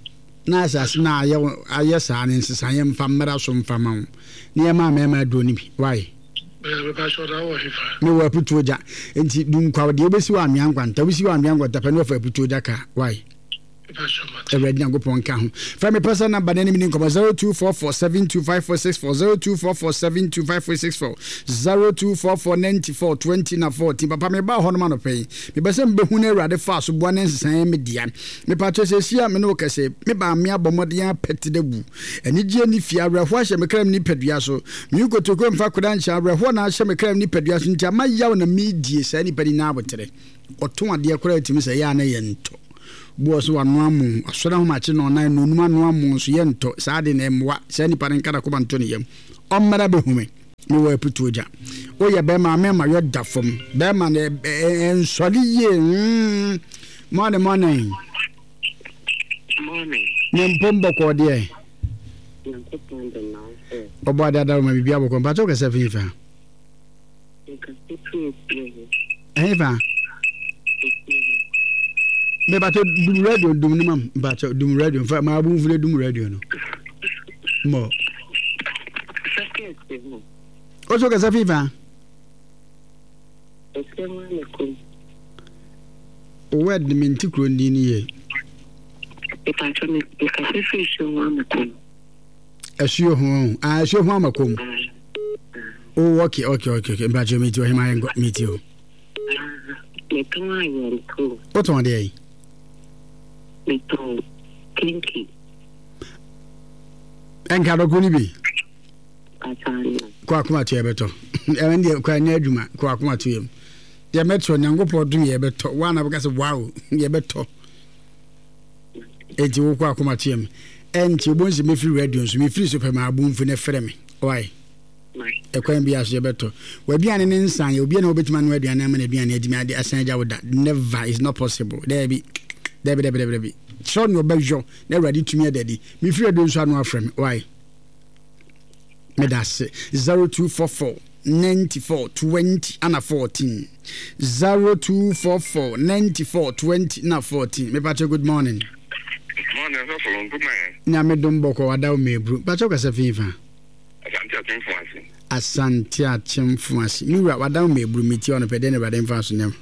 [SPEAKER 2] Na asase no a ayɛ ayɛ saa no nsesaeɛ mfa mmra so mfa ma wo. Na yɛma mmarima aduro no bi. Why? Mewɔ aputuo gya. Enti dunkwaw deɛ wobɛsi wɔ anwea nkwanta. Wosi wɔ anwea nkwanta pɛ na wafa aputuo gya kaa. Why? Awurade Nyankopɔn nka ho. Frɛ me personal number na ne me nkɔmmɔ zero two four four seven two five four six four zero two four four seven two five four six four zero two four four ninety four twenty na fourteen. Papa me ba hɔ nom anɔpɛ yi. Mepɛ sɛ mebɛhu no Awurade faa so boa ne nsesaeɛ me dea. Mepakyɛ sɛsi a me ne wo kɛsɛ me baa me abɔ mmɔden apɛte da bu. Anigyeɛ ne fie awerɛhoɔ ahyɛ me kra mu nipadua so. Me nkotokuo mfa koda nhyɛ awerɛhoɔ na ahyɛ me kra mu nipadua so nti ama yaw na medie saa nipa ni na abotere. Ɔtɔn adeɛ koraa tumi sɛ ɛyɛ a na yɛntɔ. Bu wɔ so wanoa mo asɔre ahomakye na ɔnan na onum anoa mo nso yɛntɔ saa de na ɛmmoa saa nipa no nka n'akoma nto ne yam. Ɔmmra bɛhu me. Mewɔ aputuo gya. Woyɛ bɛrima a mɛma yɔ da fam. Bɛrima no ɛnsɔre yie. Mm. Morning, morning.
[SPEAKER 7] Morning.
[SPEAKER 2] Ne mpom bɔkɔɔ deɛ.
[SPEAKER 7] Nyankopɔn de na wo sɛ.
[SPEAKER 2] Ɔbɔ ade adaro ma biribi abɔkɔ. Mpakyɛ wokasa fi fa?
[SPEAKER 7] Mekasa firi efie hɔ.
[SPEAKER 2] Ɛhe fa?
[SPEAKER 7] Efie hɔ.
[SPEAKER 2] Mepakyɛ dum radio dum no mam. Mpakyɛ dum radio mfa ma abu mfune dum radio no. Mo.
[SPEAKER 7] Kasa firi efie hɔ.
[SPEAKER 2] Oso kasa fi fa?
[SPEAKER 7] Efie hɔ ne kum.
[SPEAKER 2] Word me nti kuro ndin ni yie.
[SPEAKER 7] Mepakyɛ me mekasa firi asuo ho amakom.
[SPEAKER 2] Asuo ho ah asuo ho amakom. Oh okay okay okay okay mpakyɛ me ti ɔhema yɛnkɔ me ti o.
[SPEAKER 7] Metɔn ayɛnto.
[SPEAKER 2] Wotɔn deɛ yi?
[SPEAKER 7] Metɔn kinki.
[SPEAKER 2] Ɛnka dɔko no bi?
[SPEAKER 7] Ataano.
[SPEAKER 2] Kɔ akoma to yɛbɛtɔ. Ɛmɛ deɛ kɔ anyɛ adwuma kɔ akoma to yɛm. Yɛbɛtɔ Nyankopɔn dom yɛbɛtɔ. Wa na bɛka sɛ wow yɛbɛtɔ. Enti wokɔ akoma to yɛm. Ɛnti wobɛhu sɛ mɛfiri radio nso mefiri so pɛ ma abomfu no frɛ me. Why? Ɛkwan bi aso yɛbɛtɔ. W'aduane ne nsan yɛ obi na wobɛtumi anoa aduane ama n'aduane atumi ade asan agya wo da. Never, it's not possible. Daabi. Daabi daabi daabi daabi. Kyerɛ nea ɔbɛyɔ na Awurade tumi ada adi. Mefiri radio nso ano afrɛ me. Why? Meda ase. zero two four four ninety four twenty ana fourteen. zero two four four ninety four twenty na fourteen. Mepakyɛ good morning.
[SPEAKER 4] Morning, sɔfo nkuma yɛ.
[SPEAKER 2] Nyame dom bɔkɔ wada wo mebru. Pakyɛ kasa fi fa.
[SPEAKER 4] Asante Akyemfo ase.
[SPEAKER 2] Asante Akyemfo ase. Me wura wada wo mebru meti ɔno pɛ dɛn na Awurade mfa so nyam.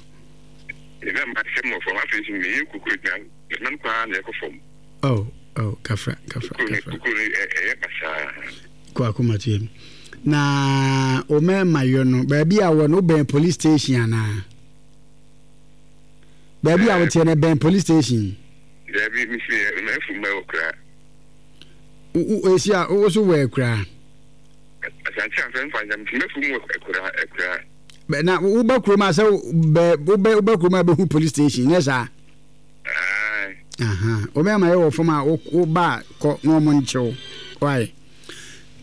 [SPEAKER 4] Ɛna ma sɛm wɔ fam afei nso meyɛ kuku adwuma na no koraa na ɛkɔ fam.
[SPEAKER 2] Oh, oh, kafra, kafra, kafra.
[SPEAKER 4] Kuku no ɛyɛ basaa.
[SPEAKER 2] Kɔ akoma to yam. Na o mɛma yɔ no baabi a wɔ no wobɛn police station anaa? Baabi a woteɛ no bɛn police station?
[SPEAKER 4] Daabi, mesi mɛfu mɛ wɔ koraa.
[SPEAKER 2] Esi a wo so wɔ akuraa?
[SPEAKER 4] Asante afɛ mfa nkyɛn mɛfu mu wɔ akuraa akuraa.
[SPEAKER 2] Na woba kurom a sɛ wobɛ woba kurom a bɛhu police station nyɛ saa? Aha, wobɛma yɛ wɔ fam a woba kɔ na ɔmo nkyew. Why?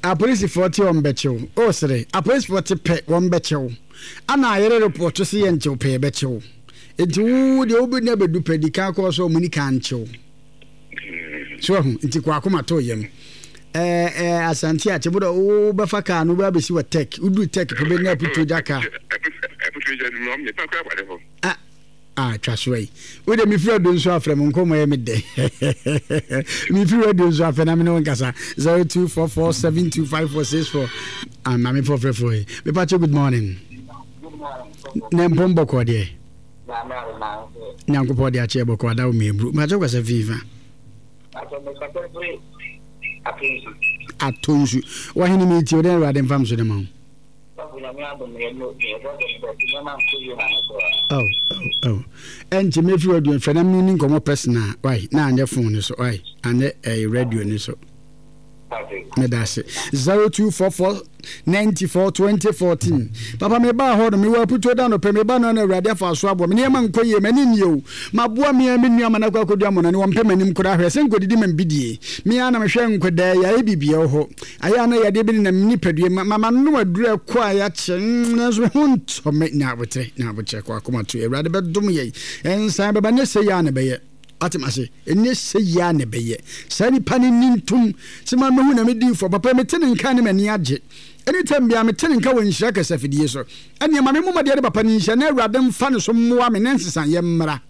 [SPEAKER 2] Apolisifoɔ te wɔn bɛkyew. O sere, apolisifoɔ te pɛ wɔn bɛkyew. Ana ayere report se yɛ nkyew pɛ yɛbɛkyew. Nti wo deɛ wobɛnya bɛdu pɛ di kan kɔɔ sɛ ɔmo ni kan nkyew. So ahu, nti kɔ akoma to yam. Eh, eh, Asante Akyebodo, wo bɛfa kaa no wobɛ abɛsi wɔ tech. Woduru tech pɛ bɛnya aputuo gya kaa.
[SPEAKER 4] Aputuo gya no, ɔmo nipa koraa wɔ hɔ.
[SPEAKER 2] Ah, ah, twa so yi. Wo de mefiri adu nso afrɛ mo nkɔmmɔ yɛ me dɛ. Mefiri adu nso afrɛ na me ne wo nkasa. zero two four four seven two five four six four. Ah, maame fɔfrɛfoɔ yi. Mepakyɛ good morning. Ne mpom bɔkɔɔ deɛ. Nyankopɔn de akyɛ bɔkɔɔ ada wo mebru. Mepakyɛ kasa fifa. Ato nsu. Wahene mi ti o den Awurade mfam so de ma wo. Oh, oh, oh. Ɛnti mefiri aduan fɛ na mene nkɔmmɔ personal. Why? Na anyɛ phone no so. Why? Anyɛ eh, radio no so. Meda ase. zero two four four ninety four twenty fourteen. Papa me ba hɔ no me wɔ aputuo da no pɛ me ba no na Awurade afa so aboa me nneɛma nkɔ yie m'ani nni o maboa me a me nua ma no akɔ akɔdu amɔnane wɔmpɛ m'anim koraa hwɛ sɛ nkɔdidi ma mbidie me a na mehwɛ nkɔdaa yi ayɛ biribiara wɔ hɔ ayɛ a na yadeɛ bi nenam me nipadua mu ma manom aduru ɛkɔ a yɛakyɛ nanso me ho ntɔ me nya aboterɛ nya aboterɛ kɔ akoma to Awurade bɛdom yɛn ɛnsan bɛba nyɛ sɛ yɛ a na ɛbɛyɛ atem ase ɛnyɛ sɛ yɛ a na ɛbɛyɛ saa nipa no ni ntom sɛ ma mehu na medi fɔ papa mete ne nka ne m'ani agye anytime bia mete ne nka wɔ nhyira kɛsɛ afidie so ɛneɛ ma me mmɔmɔdeɛ ne papa no nhyia na Awurade mfa ne so mmoa me ne nsesayɛ mmra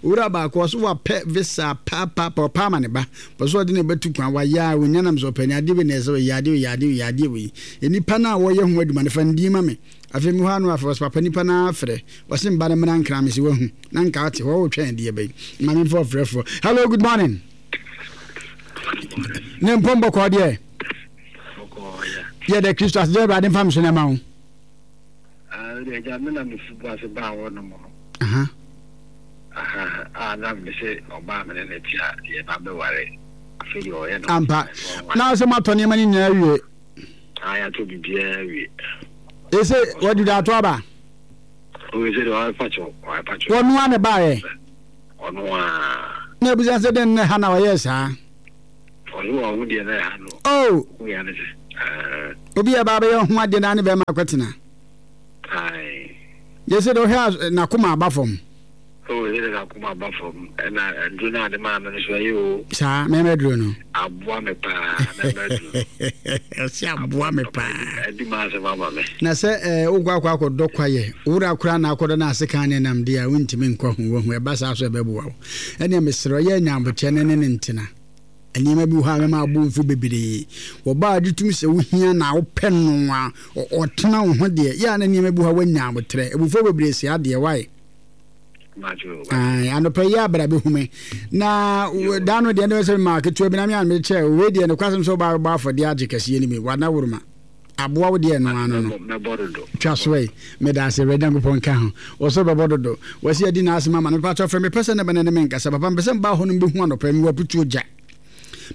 [SPEAKER 2] owura baako ɔso wapɛ visa paapaa ɔpa ama ne ba pɛ so ɔde ne bɛtu kwan wayɛ a onya nam sɛ ɔpɛ ne adeɛ wei na ɛsɛ ɔyɛ adeɛ wei adeɛ wei adeɛ wei nipa no a wɔyɛ ho adwuma no fa ndin ma me afei mi hɔ ano afɛ ɔsɛ papa nipa no afrɛ ɔsɛ mba no mmra nkra me sɛ wahu na nka ate hɔ wotwɛn deɛ bɛyi ma me mfa ɔfrɛfoɔ. Hello, good morning. Ne mpɔn bɔkɔɔ deɛ yɛda Kristo ase deɛ Awurade mfa me so na ɛma wo. Aha. Ampa na sɛ moatɔ nneɛma no nyinaa wie. Ɛsɛ wɔde da ato aba. Wɔnoa ne baeɛ. Na abisa sɛ dɛn na ɛha na ɔyɛɛ saa?
[SPEAKER 5] Ɔno wɔ ɔho deɛ na ɛha no.
[SPEAKER 2] Oh!
[SPEAKER 5] Ɔho yɛ ne sɛ. Ɛɛ.
[SPEAKER 2] Obi a ɛba abɛyɛ ɔho adeɛ na ne bɛrima akɔtena.
[SPEAKER 5] Ae.
[SPEAKER 2] Yɛ sɛ deɛ ɔhwɛ a n'akoma aba fam.
[SPEAKER 5] Oh, yɛ sɛ n'akoma aba fam. Ɛna aduro no a de maa me no so ɛyɛ o.
[SPEAKER 2] Saa, mɛmɛ aduro no.
[SPEAKER 5] Aboa me paa, mɛmɛ aduro no.
[SPEAKER 2] Ɔsi aboa me paa.
[SPEAKER 5] Adi ma asɛm ama me.
[SPEAKER 2] Na sɛ ɛɛ wokɔ akɔ akɔdɔ kwayɛ, wura koraa na akɔdɔ na ase kan ne nam deɛ a wontumi nkɔ ho wahu ɛba saa so ɛbɛboa wo. Ɛnneɛ mesrɛ ɔyɛ nyabokyɛ ne ne ne ntena. Nneɛma bi wɔ hɔ a ɛbɛma abo mfu bebree. Wɔba a gye tom sɛ wohia na wopɛ no a ɔtena wo ho deɛ yɛ a na nneɛma bi wɔ hɔ a woanya abotrɛ. Abufuo bebree sɛ adeɛ wae. Anɔpa yi abra bɛhu me na da no deɛ ne sɛ maa ketewa bi na me a mekyɛ wei deɛ nokwasɛm sɛ wobaa bɛbɔ afɔdeɛ agye kɛseɛ no bi wana woroma aboa wo deɛ no ano no twa so ɛ meda ase Awurade Nyankopɔn nka ho wɔ so bɛbɔ dodo wɔsi adi na asɛm ama no mepa kyɛw frɛ mepɛ sɛ ne bɛne ne me nkasa papa mepɛ sɛ mbaa hɔ no mbɛhu anɔpa yi mewɔ aputuo gya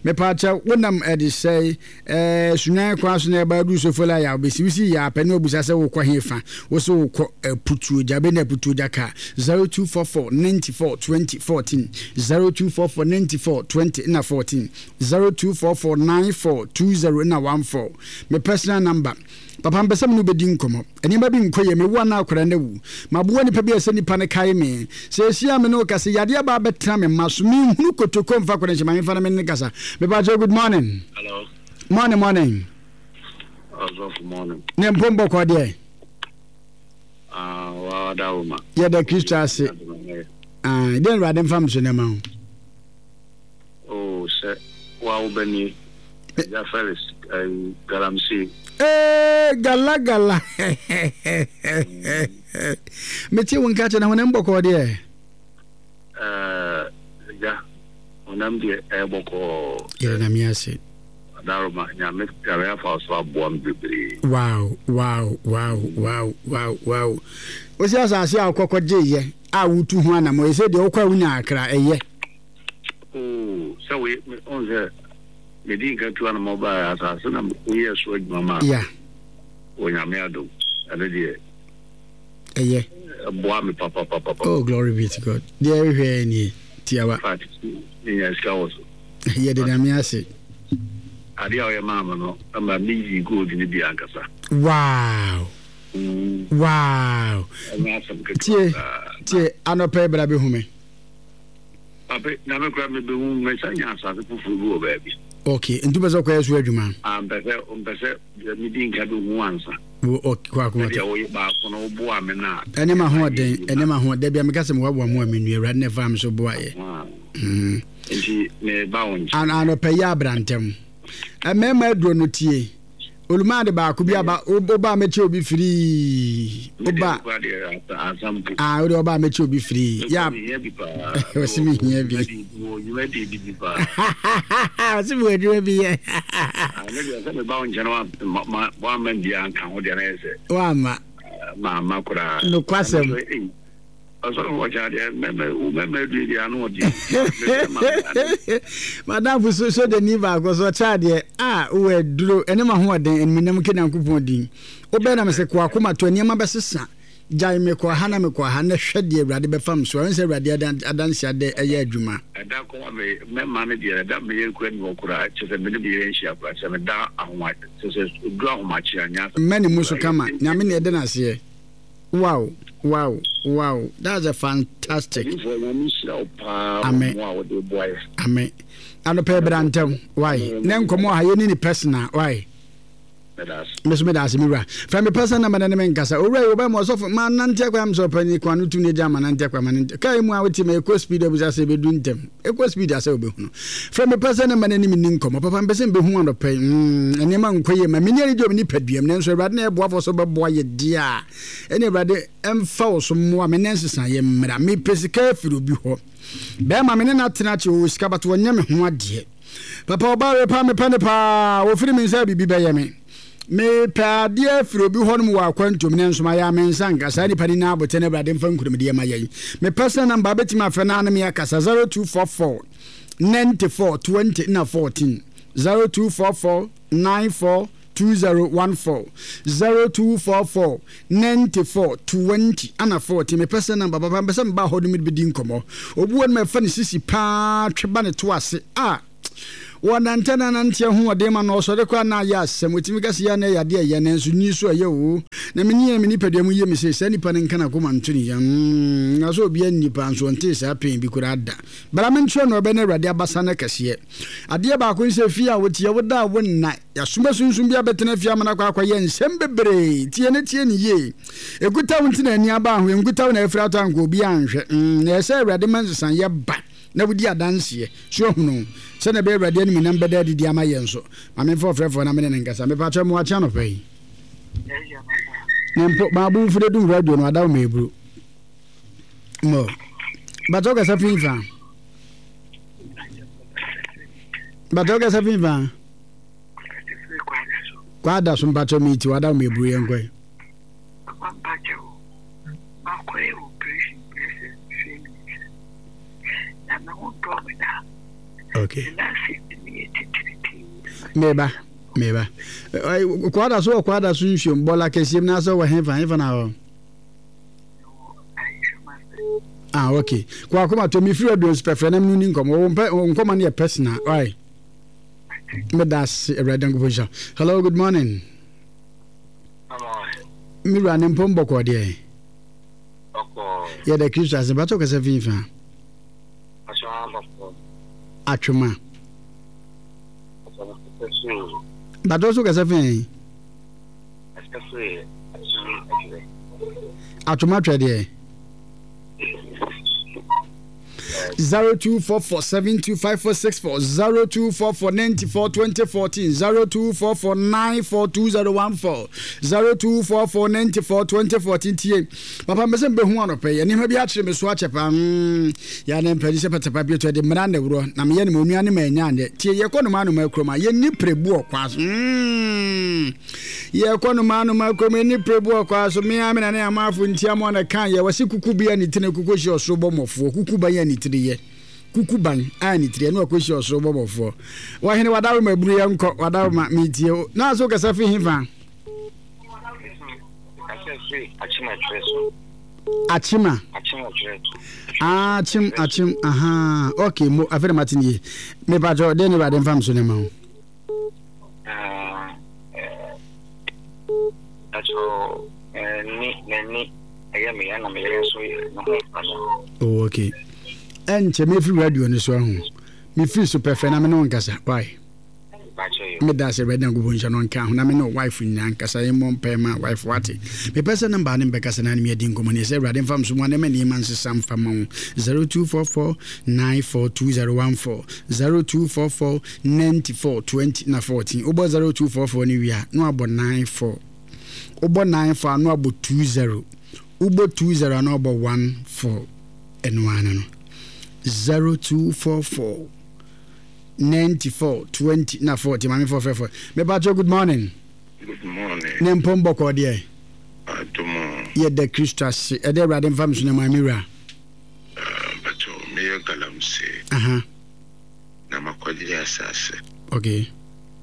[SPEAKER 2] mepa kyɛw wonam ɛde sɛe ɛɛ sunyan kwan so na ɛba adu sofola ya wobɛsi wosi yɛ apɛ ne wabusa sɛ wokɔ he fa wo so wokɔ aputuo gya bɛnya aputuo gya kaa zero two four four ninety four twenty fourteen zero two four four ninety four twenty na fourteen zero two four four nine four two zero na one four me personal number papa mpɛ sɛ me ne wobɛdi nkɔmmɔ nneɛma bi nkɔ yie mewo anaa akwadaa no awu maboa nipa bi a sɛ nipa no kae me sɛ ɛsi a me ne wo kasa yadeɛ aba abɛtena me mma so menhunu kotoko mfa akwadaa nhyɛ ma memfa no me ne kasa mepa kyɛw good morning.
[SPEAKER 5] Hello.
[SPEAKER 2] Morning, morning.
[SPEAKER 5] Ɔsɔfo morning.
[SPEAKER 2] Ne mpom bɔkɔ deɛ.
[SPEAKER 5] Ah, wa da wo ma.
[SPEAKER 2] Yɛda Kristo ase. Ah, deɛ Awurade mfa me so na ma wo.
[SPEAKER 5] Oh, sɛ wa wo bɛnie. Agya Felix, eh, galamsey.
[SPEAKER 2] Eh, gala gala. Mete wo nka kyɛ na honam bɔkɔɔ deɛ.
[SPEAKER 5] Eh, agya, honam deɛ ɛyɛ bɔkɔɔ.
[SPEAKER 2] Yɛda Nyame ase.
[SPEAKER 5] Adaroma, Nyame Nyame afa wo so aboa me bebree.
[SPEAKER 2] Wow, wow, wow, wow, wow, wow. Wosi asase a wokɔkɔ gyeeɛ a wotu ho anamɔ, ɛsɛ deɛ wokɔ a wonya akra, ɛyɛ.
[SPEAKER 5] Oh, sɛ woyɛ, ɔn sɛ medi nka tu anamɔ baa asase na woyɛɛ so adwuma maa.
[SPEAKER 2] Yeah.
[SPEAKER 5] Wɔ Nyame adom, ɛno deɛ.
[SPEAKER 2] Ɛyɛ.
[SPEAKER 5] Ɛboa me papapapapa.
[SPEAKER 2] Oh, glory be to God. Deɛ ɛhwehwɛ nie, tiawa.
[SPEAKER 5] Fact, menya sika wɔ so.
[SPEAKER 2] Yɛde Nyame ase.
[SPEAKER 5] Adeɛ a ɔyɛ maa me no ma me yi gold no bi ankasa.
[SPEAKER 2] Wow!
[SPEAKER 5] Mm.
[SPEAKER 2] Wow!
[SPEAKER 5] Ɛnyɛ asɛm ketewa
[SPEAKER 2] Tie,
[SPEAKER 5] koraa.
[SPEAKER 2] tie, anɔpa yi bra bɛhu me.
[SPEAKER 5] Pape, na me koraa mebɛhu, mesan nya asase foforɔ bi wɔ baabi.
[SPEAKER 2] Okay, nti wopɛ sɛ ɔkɔyɛ so adwuma?
[SPEAKER 5] Ah, mpɛ sɛ, mpɛ sɛ deɛ medi nka bɛhu ansa.
[SPEAKER 2] Wo, ok, kɔ akoma
[SPEAKER 5] Sɛdeɛ woyɛ baako no, woboa me no a.
[SPEAKER 2] Ɛne ma hoɔden, ɛne ma ho, dabi a meka sɛ mewaboa mu a menua, Awurade na ɛfaa me so boaeɛ. Mm.
[SPEAKER 5] Nti meba wo nkyɛn.
[SPEAKER 2] An, anɔpa yi abra ntɛm. Mmarima aduro no tie. Olumaade baako bi aba, woba a mɛkyɛ obi firii. Woba. Ah, wode ɔba a mɛkyɛ obi firii. Ya. Ɔsi mi hia bi. Ɔsi mi wɔ adwuma bi yɛ. Wama.
[SPEAKER 5] Mama koraa.
[SPEAKER 2] Nokwasɛm.
[SPEAKER 5] Ɔsɔfo ɔkyɛ adeɛ mɛmɛ wo mɛmɛ adue deɛ ano ɔde.
[SPEAKER 2] Madamfo so sogyani baako so ɔkyɛ adeɛ a wowɔ aduro ɛne ma hoɔden animuonyam nka Nyankopɔn din. Wobɛn na mesɛ kɔ akoma to nneɛma bɛsesa gyae me kɔ ha na mekɔ ha na hwɛ deɛ Awurade bɛfa me so. Ɛho sɛ Awurade adanse adɛ ɛyɛ adwuma.
[SPEAKER 5] Ɛda koraa me mɛma no deɛ ɛda me yere koraa ni hɔ koraa kyɛ sɛ me ne me yere nhyia koraa kyɛ sɛ meda ahoma kyɛ sɛ duru ahomakye anya.
[SPEAKER 2] Mma ne mu so kama Nyame na ɛda no aseɛ. Wow wow wow that's a fantastic. Amen amen. Anɔpɛ bra ntɛm why ne nkɔmɔ ha yɛ ni ne personal why. Me so meda ase me wura. Fɛ me personal number na ne me nkasa. Owura yi wɔbɛ mo ɔsɔfo ma nante akwa am sɛ ɔpanyin kwan no tu ne gya ma nante akwa ma nante. Kaa mu a wote ma ekɔ speed abusa sɛ ebedu ntɛm. Ekɔ speed asɛ wobɛhunu. Frɛ me pɛ sɛ ne mma no ne me nni nkɔmmɔ. Papa, mepɛ sɛ mebɛhu anɔpa yi. Mm, nneɛma nkɔ yie ma me. Menni anigye wɔ me nipaduam, nanso Awurade na ɛboafoɔ sɛ wobɛboa yɛ deɛ a, ɛne Awurade mfa wo so mmoa me na nsesaeɛ mmra. Mepɛ sika afiri obi hɔ. Bɛrima, me ne no atena akyɛ, ɔwɔ sika, but ɔnyɛ me ho adeɛ. Papa, ɔbaa wei paa, mepɛ no paa. Ɔfiri me nsa a, biribi bɛyɛ me. Mepɛ adeɛ afiri obi hɔnom wɔ akwantuom nanso mayɛ a me nsa nka saa nipa no nyinaa abotɛ na Awurade mfa nkunimdie ma yɛn. Me personal number wobɛtumi afrɛ na ne me akasa zero two four four ninety four twenty na fourteen zero two four four nine four two zero one four, zero two four four ninety four twenty ana fourteen. Mepɛ sɛ namba papa, mepɛ sɛ meba hɔ no mede bɛdi nkɔmmɔ. Obi wɔ no mɛfa ne sisi paa twe ba ne to ase a wɔnante na nante ahoɔden ma na ɔsɔre koraa na ayɛ asɛm. Wɔtumi ka sɛ yɛ na ɛyɛ adeɛ ɛyɛ, nanso nyi so ɛyɛ o. Na me ne me nipadua mu yɛ me sɛ saa nipa no nka n'akoma nto ne yam. Na sɛ obi anni nipa nso ɔntee saa pɛn bi koraa da. Bra me nkyerɛ no ɔbɛ no Awurade abasa no kɛseɛ. Adeɛ baako ne sɛ fie a woteɛ woda a wonna yɛasoma sunsum bi abɛtena fie ama no akɔ akɔyɛ nsɛm bebree. Tie ne tie ne yie. Ɛkuta wo nti na ani aba ho, ɛnkuta wo na afiri atɔ anka obi anhwɛ. Na ɛsɛ Awurade ma nsesayɛ ba na wodi adanseɛ so ahunu sɛnea ɛbɛyɛ Awurade animuonyam bɛda adidi ama yɛn nso. Ma memfa ɔfrɛfoɔ na mene ne nkasa. Mepa kyɛ mo akye anɔpa yi. Ne mpo maabu mfude dum radio no adawo ma eburu. Mo. Bàtà ɔkasa fi nfa. Bàtà ɔkasa fi nfa. Kwada so mpakyɛ mi ti wadawo ma eburu yɛn kɔɛ. Okay. Meba, meba. Kwada so wɔ kwada so nsuom bɔla kɛseɛ mu na sɛ wɔ hefa hefa na hɔ. Ah, okay. Kwa akoma to mi firi aduon pɛfrɛ na menu ni nkɔmɔ. Wo mpɛ nkɔmɔ no yɛ personal. Why? Meda ase Awurade Nyankopɔn nhyira. Hello, good morning. Me wura ne mpom bɔkɔɔ deɛ. Yɛda Kristo ase. Bàtɔ kasa fi nfa. Atwoma. Bàtɔ so kasa fi yɛn. Atwoma twɛ deɛ. zero two four four seven two five four six four zero two four four ninety four twenty fourteen zero two four four nine four two zero one four zero two four four ninety four twenty fourteen tie papa mbɛsɛ mbɛhu anɔpɛ yɛ nneɛma bi akyerɛ me so akyɛ paa mm yɛ ne mpɛdi sɛ pɛtɛpa bi to de mmara na wurɔ na meyɛ ne ma onua ne ma anya anyɛ tie yɛkɔ no ma anoma kurom a yɛnni prebu ɔkwa so mm yɛkɔ no ma anoma kurom yɛnni prebu ɔkwa so mea me na ne amafo ntia mo na kan yɛ wɔse kuku bi a ne tiri kuku hyɛ ɔsoro bɔ mmɔfoɔ kuku ban a ne tiri yɛ kuku ban a ne tiri yɛ ne wakɔhyɛ ɔsoro bɔ mmɔfoɔ wɔhene wadaroma aburu yɛ nkɔ wadaroma metie o na so kasa fi hefa Achima Achim Achim aha okay mo afei na mate ne yie mepatwɛ dɛn ne Awurade mfa me so ne ma wo Oh, okay. Ɛnkyɛ mefiri radio no so ahu. Mefiri so pɛfɛ na me ne wo nkasa. Why? Meda ase Awurade Nyankopɔn nhyira no nka ho na me ne wife nyinaa nkasa yɛmmɔ mpae ma wife wate. Mepɛ sɛ namba ne mbɛkasa na ne me adi nkɔmmɔ ne sɛ Awurade mfa mso mu anɛ ma nneɛma nsesa mfa ma wo. zero two four four nine four two zero one four zero two four four ninety four twenty na fourteen. Wobɔ zero two four four ne wie a na wabɔ nine four. Wobɔ nine four a na wabɔ two zero. Wobɔ two zero a na wabɔ one four. Ɛno ara no zero two four four ninety four twenty na forty. Maame four four four. Mepa good morning.
[SPEAKER 4] Good morning.
[SPEAKER 2] Ne mpom bɔkɔ deɛ.
[SPEAKER 4] Adomo.
[SPEAKER 2] Yɛda Kristo ase. Ɛdɛ Awurade mfa me so na maame wura.
[SPEAKER 4] Mpacho meyɛ galamsey.
[SPEAKER 2] Aha.
[SPEAKER 4] Na makɔgye asase.
[SPEAKER 2] Okay.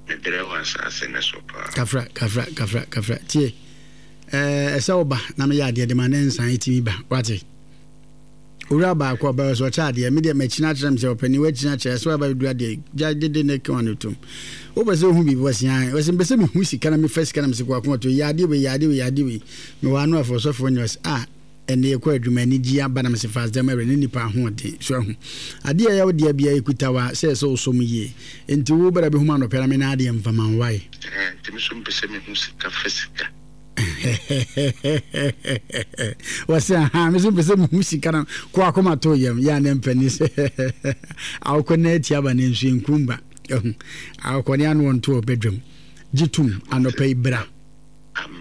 [SPEAKER 4] Mebrɛ wɔ asase ne so paa.
[SPEAKER 2] Kafra kafra kafra kafra tie. Ɛɛ ɛsɛ wo ba na meyɛ adeɛ de ma ne nsan etimi ba wate. Owura baako ɔbɛyɛ sɛ ɔkyɛ adeɛ me deɛ makyina akyerɛ me sɛ ɔpɛni wakyina kyerɛ sɛ waba bɛduru adeɛ gya dede ne kewa no tom. Wopɛ sɛ wohu biribi wɔsi an wɔsi mpɛ sɛ mehu sika na mefa sika na mesɛ kɔ akoma to yɛ adeɛ wei yɛ adeɛ wei yɛ adeɛ wei mewɔ ano afɔ ɔsɔfoɔ nyɛ ɔsɛ ah ɛnna yɛkɔ adwuma ani gye aba na mesɛ fast dɛm awura ne nipa ahoɔden so ahu adeɛ ɛyɛ wo deɛ bia ɛkuta wa sɛ ɛsɛ wo som yie nti wo bɛrɛ bɛhu ma anɔpɛ na me na adeɛ mfa ma wae.
[SPEAKER 4] Nti me so mpɛ sɛ mehu sika fa sika.
[SPEAKER 2] Wɔsɛ aha me so mpɛ sɛ mehu sika na kɔ akoma to yam yɛ a ne mpani sɛ awokɔ na ati aba ne nso nkumba awokɔ ne ano ɔnto ɔbɛdwam gye tom anɔpɛ yi bra. Bra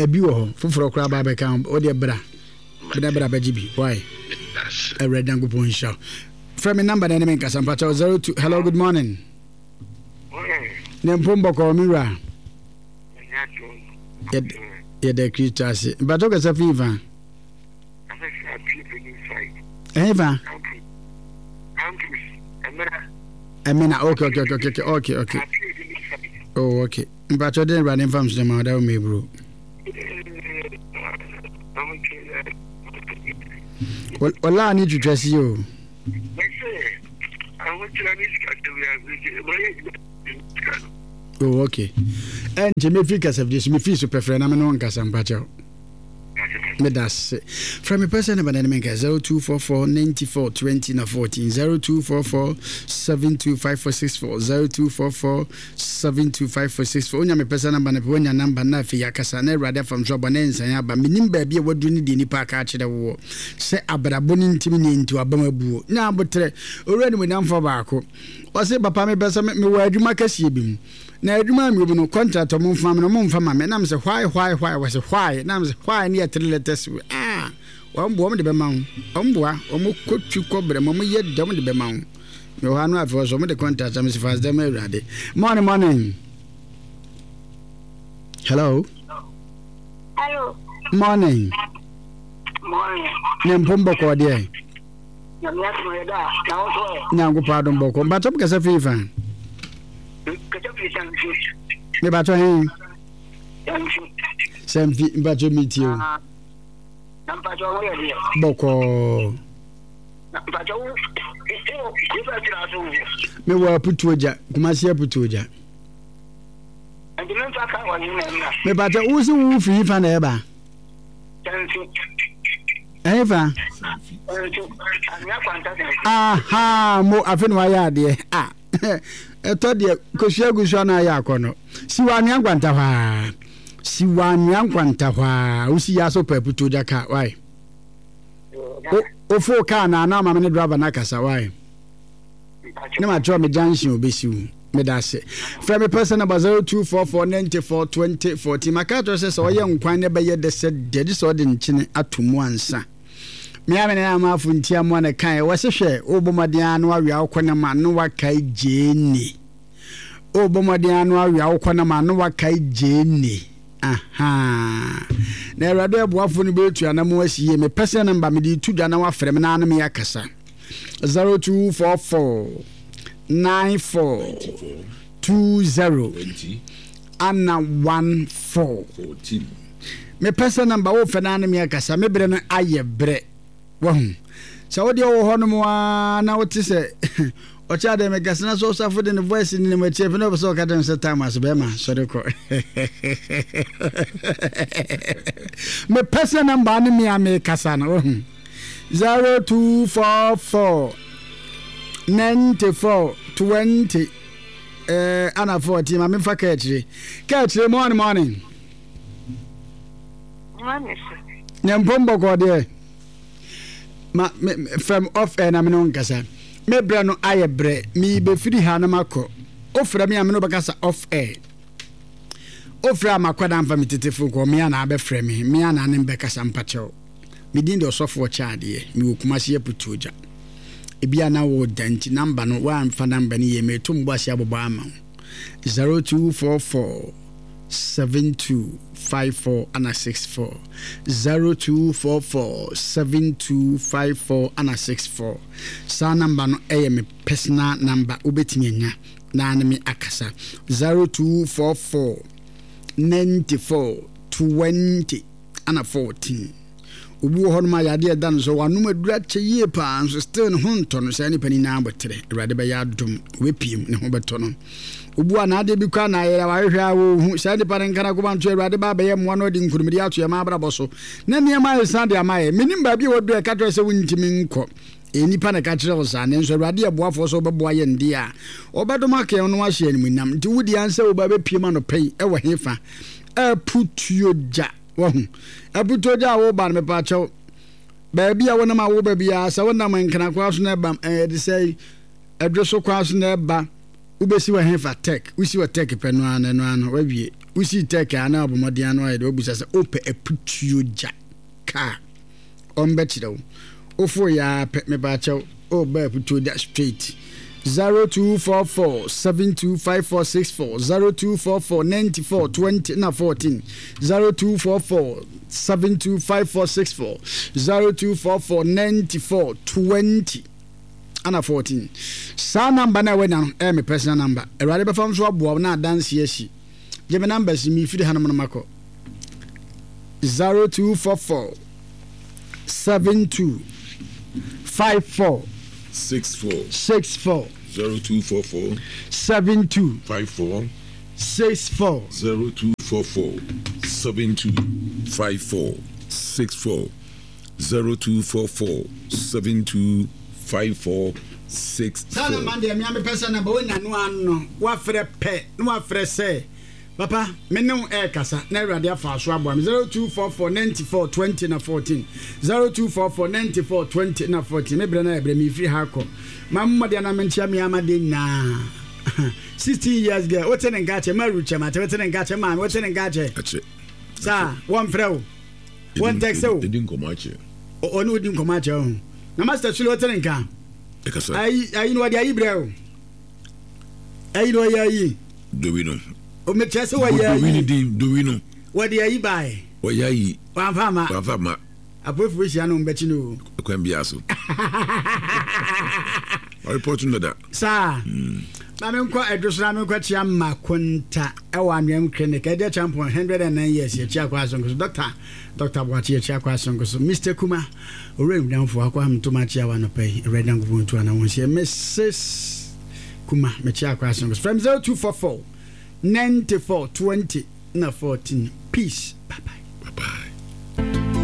[SPEAKER 2] ebi wɔ hɔ foforɔ koraa ba bɛka ho wodeɛ bra bra bra bɛgye bi why Awurade Nyankopɔn nhyira wo. Frɛ me number na ne me nkasa mpakyɛw zero two. Hello, good morning. Ne mpom bɔkɔɔ me wura. Yɛda Kristo ase. Mpakyɛw kasa fi fa. Ɛhe fa? Ɛmena, okay okay okay okay okay okay. Oh, okay. Mpakyɛ den Awurade mfa mso ma ɔda wo mebro. Ɔlaa ne twitwa si o. Oh, okay. Ɛnkyɛ mefiri kasafidie so mefiri so pɛfrɛ na me ne wo nkasa mpakyɛw. Meda ase. Frɛ me pɛsɛ ne bɛnɛ ne menka zero two four four ninety four twenty na fourteen zero two four four seven two five four six four zero two four four seven two five four six four. Onya me pɛsɛ namba no pɛ wonya namba na afei akasa na Awurade afam so aba na nsan aba. Menim baabi a waduru ne deɛ nipa aka akyerɛ woɔ sɛ abrabɔ no ntimi ne nti wabam abuo. Nya abotrɛ. Owura nimonyamfoɔ baako. Ɔse papa mepɛ sɛ mewɔ adwuma kɛseɛ bi mu. Na adwuma a mewɔ mu no, contract ɔmo mfa ma me no, ɔmo mfa ma me. Na mesɛ why why why? Wɔse why? Na mesɛ why ne yɛ three letters wei. Ah! Wɔn boa, wɔn de bɛma wo. Wɔn boa, wɔn kɔ twi kɔ brɛ mu, wɔn yɛ dɛ, wɔn de bɛma wo. Mewɔ hɔ ano afei wɔsɛ wɔn de contract a mesɛ fa aseda ma Awurade. Morning, morning. Hello.
[SPEAKER 7] Hello.
[SPEAKER 2] Morning.
[SPEAKER 7] Morning.
[SPEAKER 2] Ne mpom bɔkɔɔ deɛ. Nyankopɔn adom bɔkɔ. Mpakyɛ mo kasa firi fa? Mepakyɛ he? Sɛmfi, mpakyɛ metie o. Bɔkɔɔ. Mewɔ Aputuo gya, Kumasi Aputuo gya. Mepakyɛ wo se wo firi fa na ɛba? Ɛhefa? Aha, mo afe na wayɛ adeɛ. Ah, ɛtɔ deɛ kosua gu so ana ayɛ akɔ no. Si wɔ anwea nkwanta hɔ a. Si wɔ anwea nkwanta hɔ a. Wosi yɛ aso pɛ putu gya kaa, why? Ofo kaa na ana ama me ne driver na kasa, why? Ne ma kyerɛ me junction obesi wo. Meda ase. Frɛ me pɛsɛ namba zero two four four ninety four twenty fourteen. Maka akyerɛ sɛ sɛ ɔyɛ nkwan na ɛbɛyɛ dɛ sɛ dɛ gye sɛ ɔde nkyene ato mu ansa. Me a me nana amaafo nti amoa na kae wɔse hwɛ wobɔ mmɔden ara na wawea wo kɔnam a na wakae gyeene. Wobɔ mmɔden ara na wawea wo kɔnam a na wakae gyeene. Ahaa. Na Awurade ɛboafo no bɛtu anamo asi yie. Me pɛsɛ namba mede tu dwa na wafrɛ me na ano me akasa. zero two four four nine four two zero ana one four mepɛ sɛ namba wofɛ no ne me akasa me berɛ no ayɛ berɛ wahu sɛ wodeɛ wɔ hɔ nom a na wote sɛ ɔkyɛ adeɛ mekasa na sɛ ɔsafo de ne voice ne nam akyi afei na ɔpɛ sɛ ɔka kyerɛ me sɛ time ase bɛrima sɔre kɔ mepɛ sɛ namba ne me a mekasa no wahu Zero two four four ninety four twenty eh, ana fourteen ma memfa kaa akyire kaa akyire morning morning ne mpom bɔkɔɔ deɛ ma me fam off air na me ne wo nkasa me brɛ no ayɛ brɛ mebɛfiri ha na makɔ wofrɛ me a me ne wobɛkasa off air wofrɛ a makɔ da mfa me tetefo kɔ me a na abɛfrɛ me me a na ne mbɛkasa mpakyɛw. Me din de Ɔsɔfo Ɔkyɛadeɛ. Mewɔ Kumasi Aputuogya. Ebia na woreda nti number no woamfa number no yie. Mereto me bo ase abobɔ ama wo. Zero two four four seven two five four ana six four. Zero two four four seven two five four ana six four. Saa number no ɛyɛ me personal number wobɛtumi anya na ne me akasa. Zero two four four ninety four twenty ana fourteen. Obi wɔ hɔnom a yadeɛ ɛda no so, wanom aduru akyɛ yie paa nso still ne ho ntɔ no. Saa nipa no nyinaa abɔterɛ, Awurade bɛyɛ adom, ɔbɛpiem, ne ho bɛtɔ no. Obi a n'adeɛ bi koraa na ayɛ a wahwehwɛ a wɔhu saa nipa no nka n'akoma nto Awurade ba abɛyɛ mmoa na ɔde nkunimdie ato yɛn abrabɔ so na nneɛma ayɛ de ama yɛ. Menim baabi a waduru a ɛka kyerɛ sɛ wontumi nkɔ. Ɛyɛ nnipa na ɛka kyerɛ wo saa, nanso Awurade yɛ boafoɔ sɛ ɔbɛboa yɛn deɛ a, ɔbɛdom aka yɛn na wahyɛ yɛn animuonyam. Nti wo deɛ ansɛ wo ba bɛpiem anɔpa yi ɛwɔ hefa? Aputuo gya. Wahu? Aputuo gya a woba no, mepaakyɛw, baabi a wonam a woba biara, sɛ wonam Nkrankwaa so na ɛba, ɛyɛ de sɛ ɛdwo so kwan so na ɛba, wobɛsi wɔ hefa? Tech. Wosi wɔ Tech pɛ no ara no, ɛno ara no, wawie. Wosii Tech a, na wabɔ mmɔden ano ayɛ de wabusa sɛ wopɛ aputuo gya kaa. Ɔmbɛkyerɛ wo. Wofoo yɛ ara pɛ, mepaakyɛw, oh bɛɛ putuo da straight. Zero two four four seven two five four six four zero two four four ninety four twenty na fourteen zero two four four seven two five four six four zero two four four ninety four twenty ana fourteen. Saa number no a wanya no ɛyɛ me personal number. Awurade bɛfa nso aboa wo na adanse asi. Gye me numbers yi mefiri hanom no makɔ. zero two four four seven two five four
[SPEAKER 9] six four
[SPEAKER 2] six four
[SPEAKER 9] zero two four four
[SPEAKER 2] seven two
[SPEAKER 9] five four
[SPEAKER 2] six four
[SPEAKER 9] zero two four four seven two five four six four zero two four four seven two five four six
[SPEAKER 2] Saa
[SPEAKER 9] four.
[SPEAKER 2] na man deɛ mea mepɛ sɛ namba wonya no ano wafrɛ pɛ na wafrɛ sɛ papa me ne wo ɛrekasa na awurade afa so aboa me zero two four four ninety four twenty na fourteen zero two four four ninety four twenty na fourteen me brɛ na ɛbrɛ me firi ha kɔ ma mmɔdeɛ na menkyia me ama de nyinaa sixteen years girl wote ne nka kyɛ ma rukyɛ ma te wote ne nka kyɛ maame wote ne nka kyɛ saa wɔmfrɛ wo wɔn tɛksɛ wo
[SPEAKER 9] ɛdi nkɔmmɔ akyɛ
[SPEAKER 2] ɔne wodi nkɔmmɔ akyɛ wo na master sule wote ne nka
[SPEAKER 9] ɛkasa
[SPEAKER 2] ayi ayi no wɔde ayi brɛ wo ayi no ɔyɛ ayi
[SPEAKER 9] dowi no
[SPEAKER 2] omekyerɛ sɛ wɔyɛ
[SPEAKER 9] dowi no
[SPEAKER 2] ayi
[SPEAKER 9] din dowi no
[SPEAKER 2] wɔde ayi bae
[SPEAKER 9] wɔyɛ ayi
[SPEAKER 2] wamfa ama
[SPEAKER 9] wamfa ma
[SPEAKER 2] apolifoɔ hyia no mbɛkyi no o
[SPEAKER 9] kwan biara so ɔrepɔto no dada
[SPEAKER 2] saa ma menkɔ adwo so na menkɔ kyia Makonta ɛwɔ Anweam Clinic ɛdeɛ champion hundred and nine years yɛkyia akɔ asonko so doctor Doctor Boakye yɛkyia akɔ asonko so Mister Kuma owura nwudamfoɔ akɔ hamtoma akyia wa anɔpa yi Awurade Nyankopɔn ntu ana wɔn hyɛ Missus Kuma mekyia akɔ asonko so from zero two four four ninety four twenty na fourteen. Peace.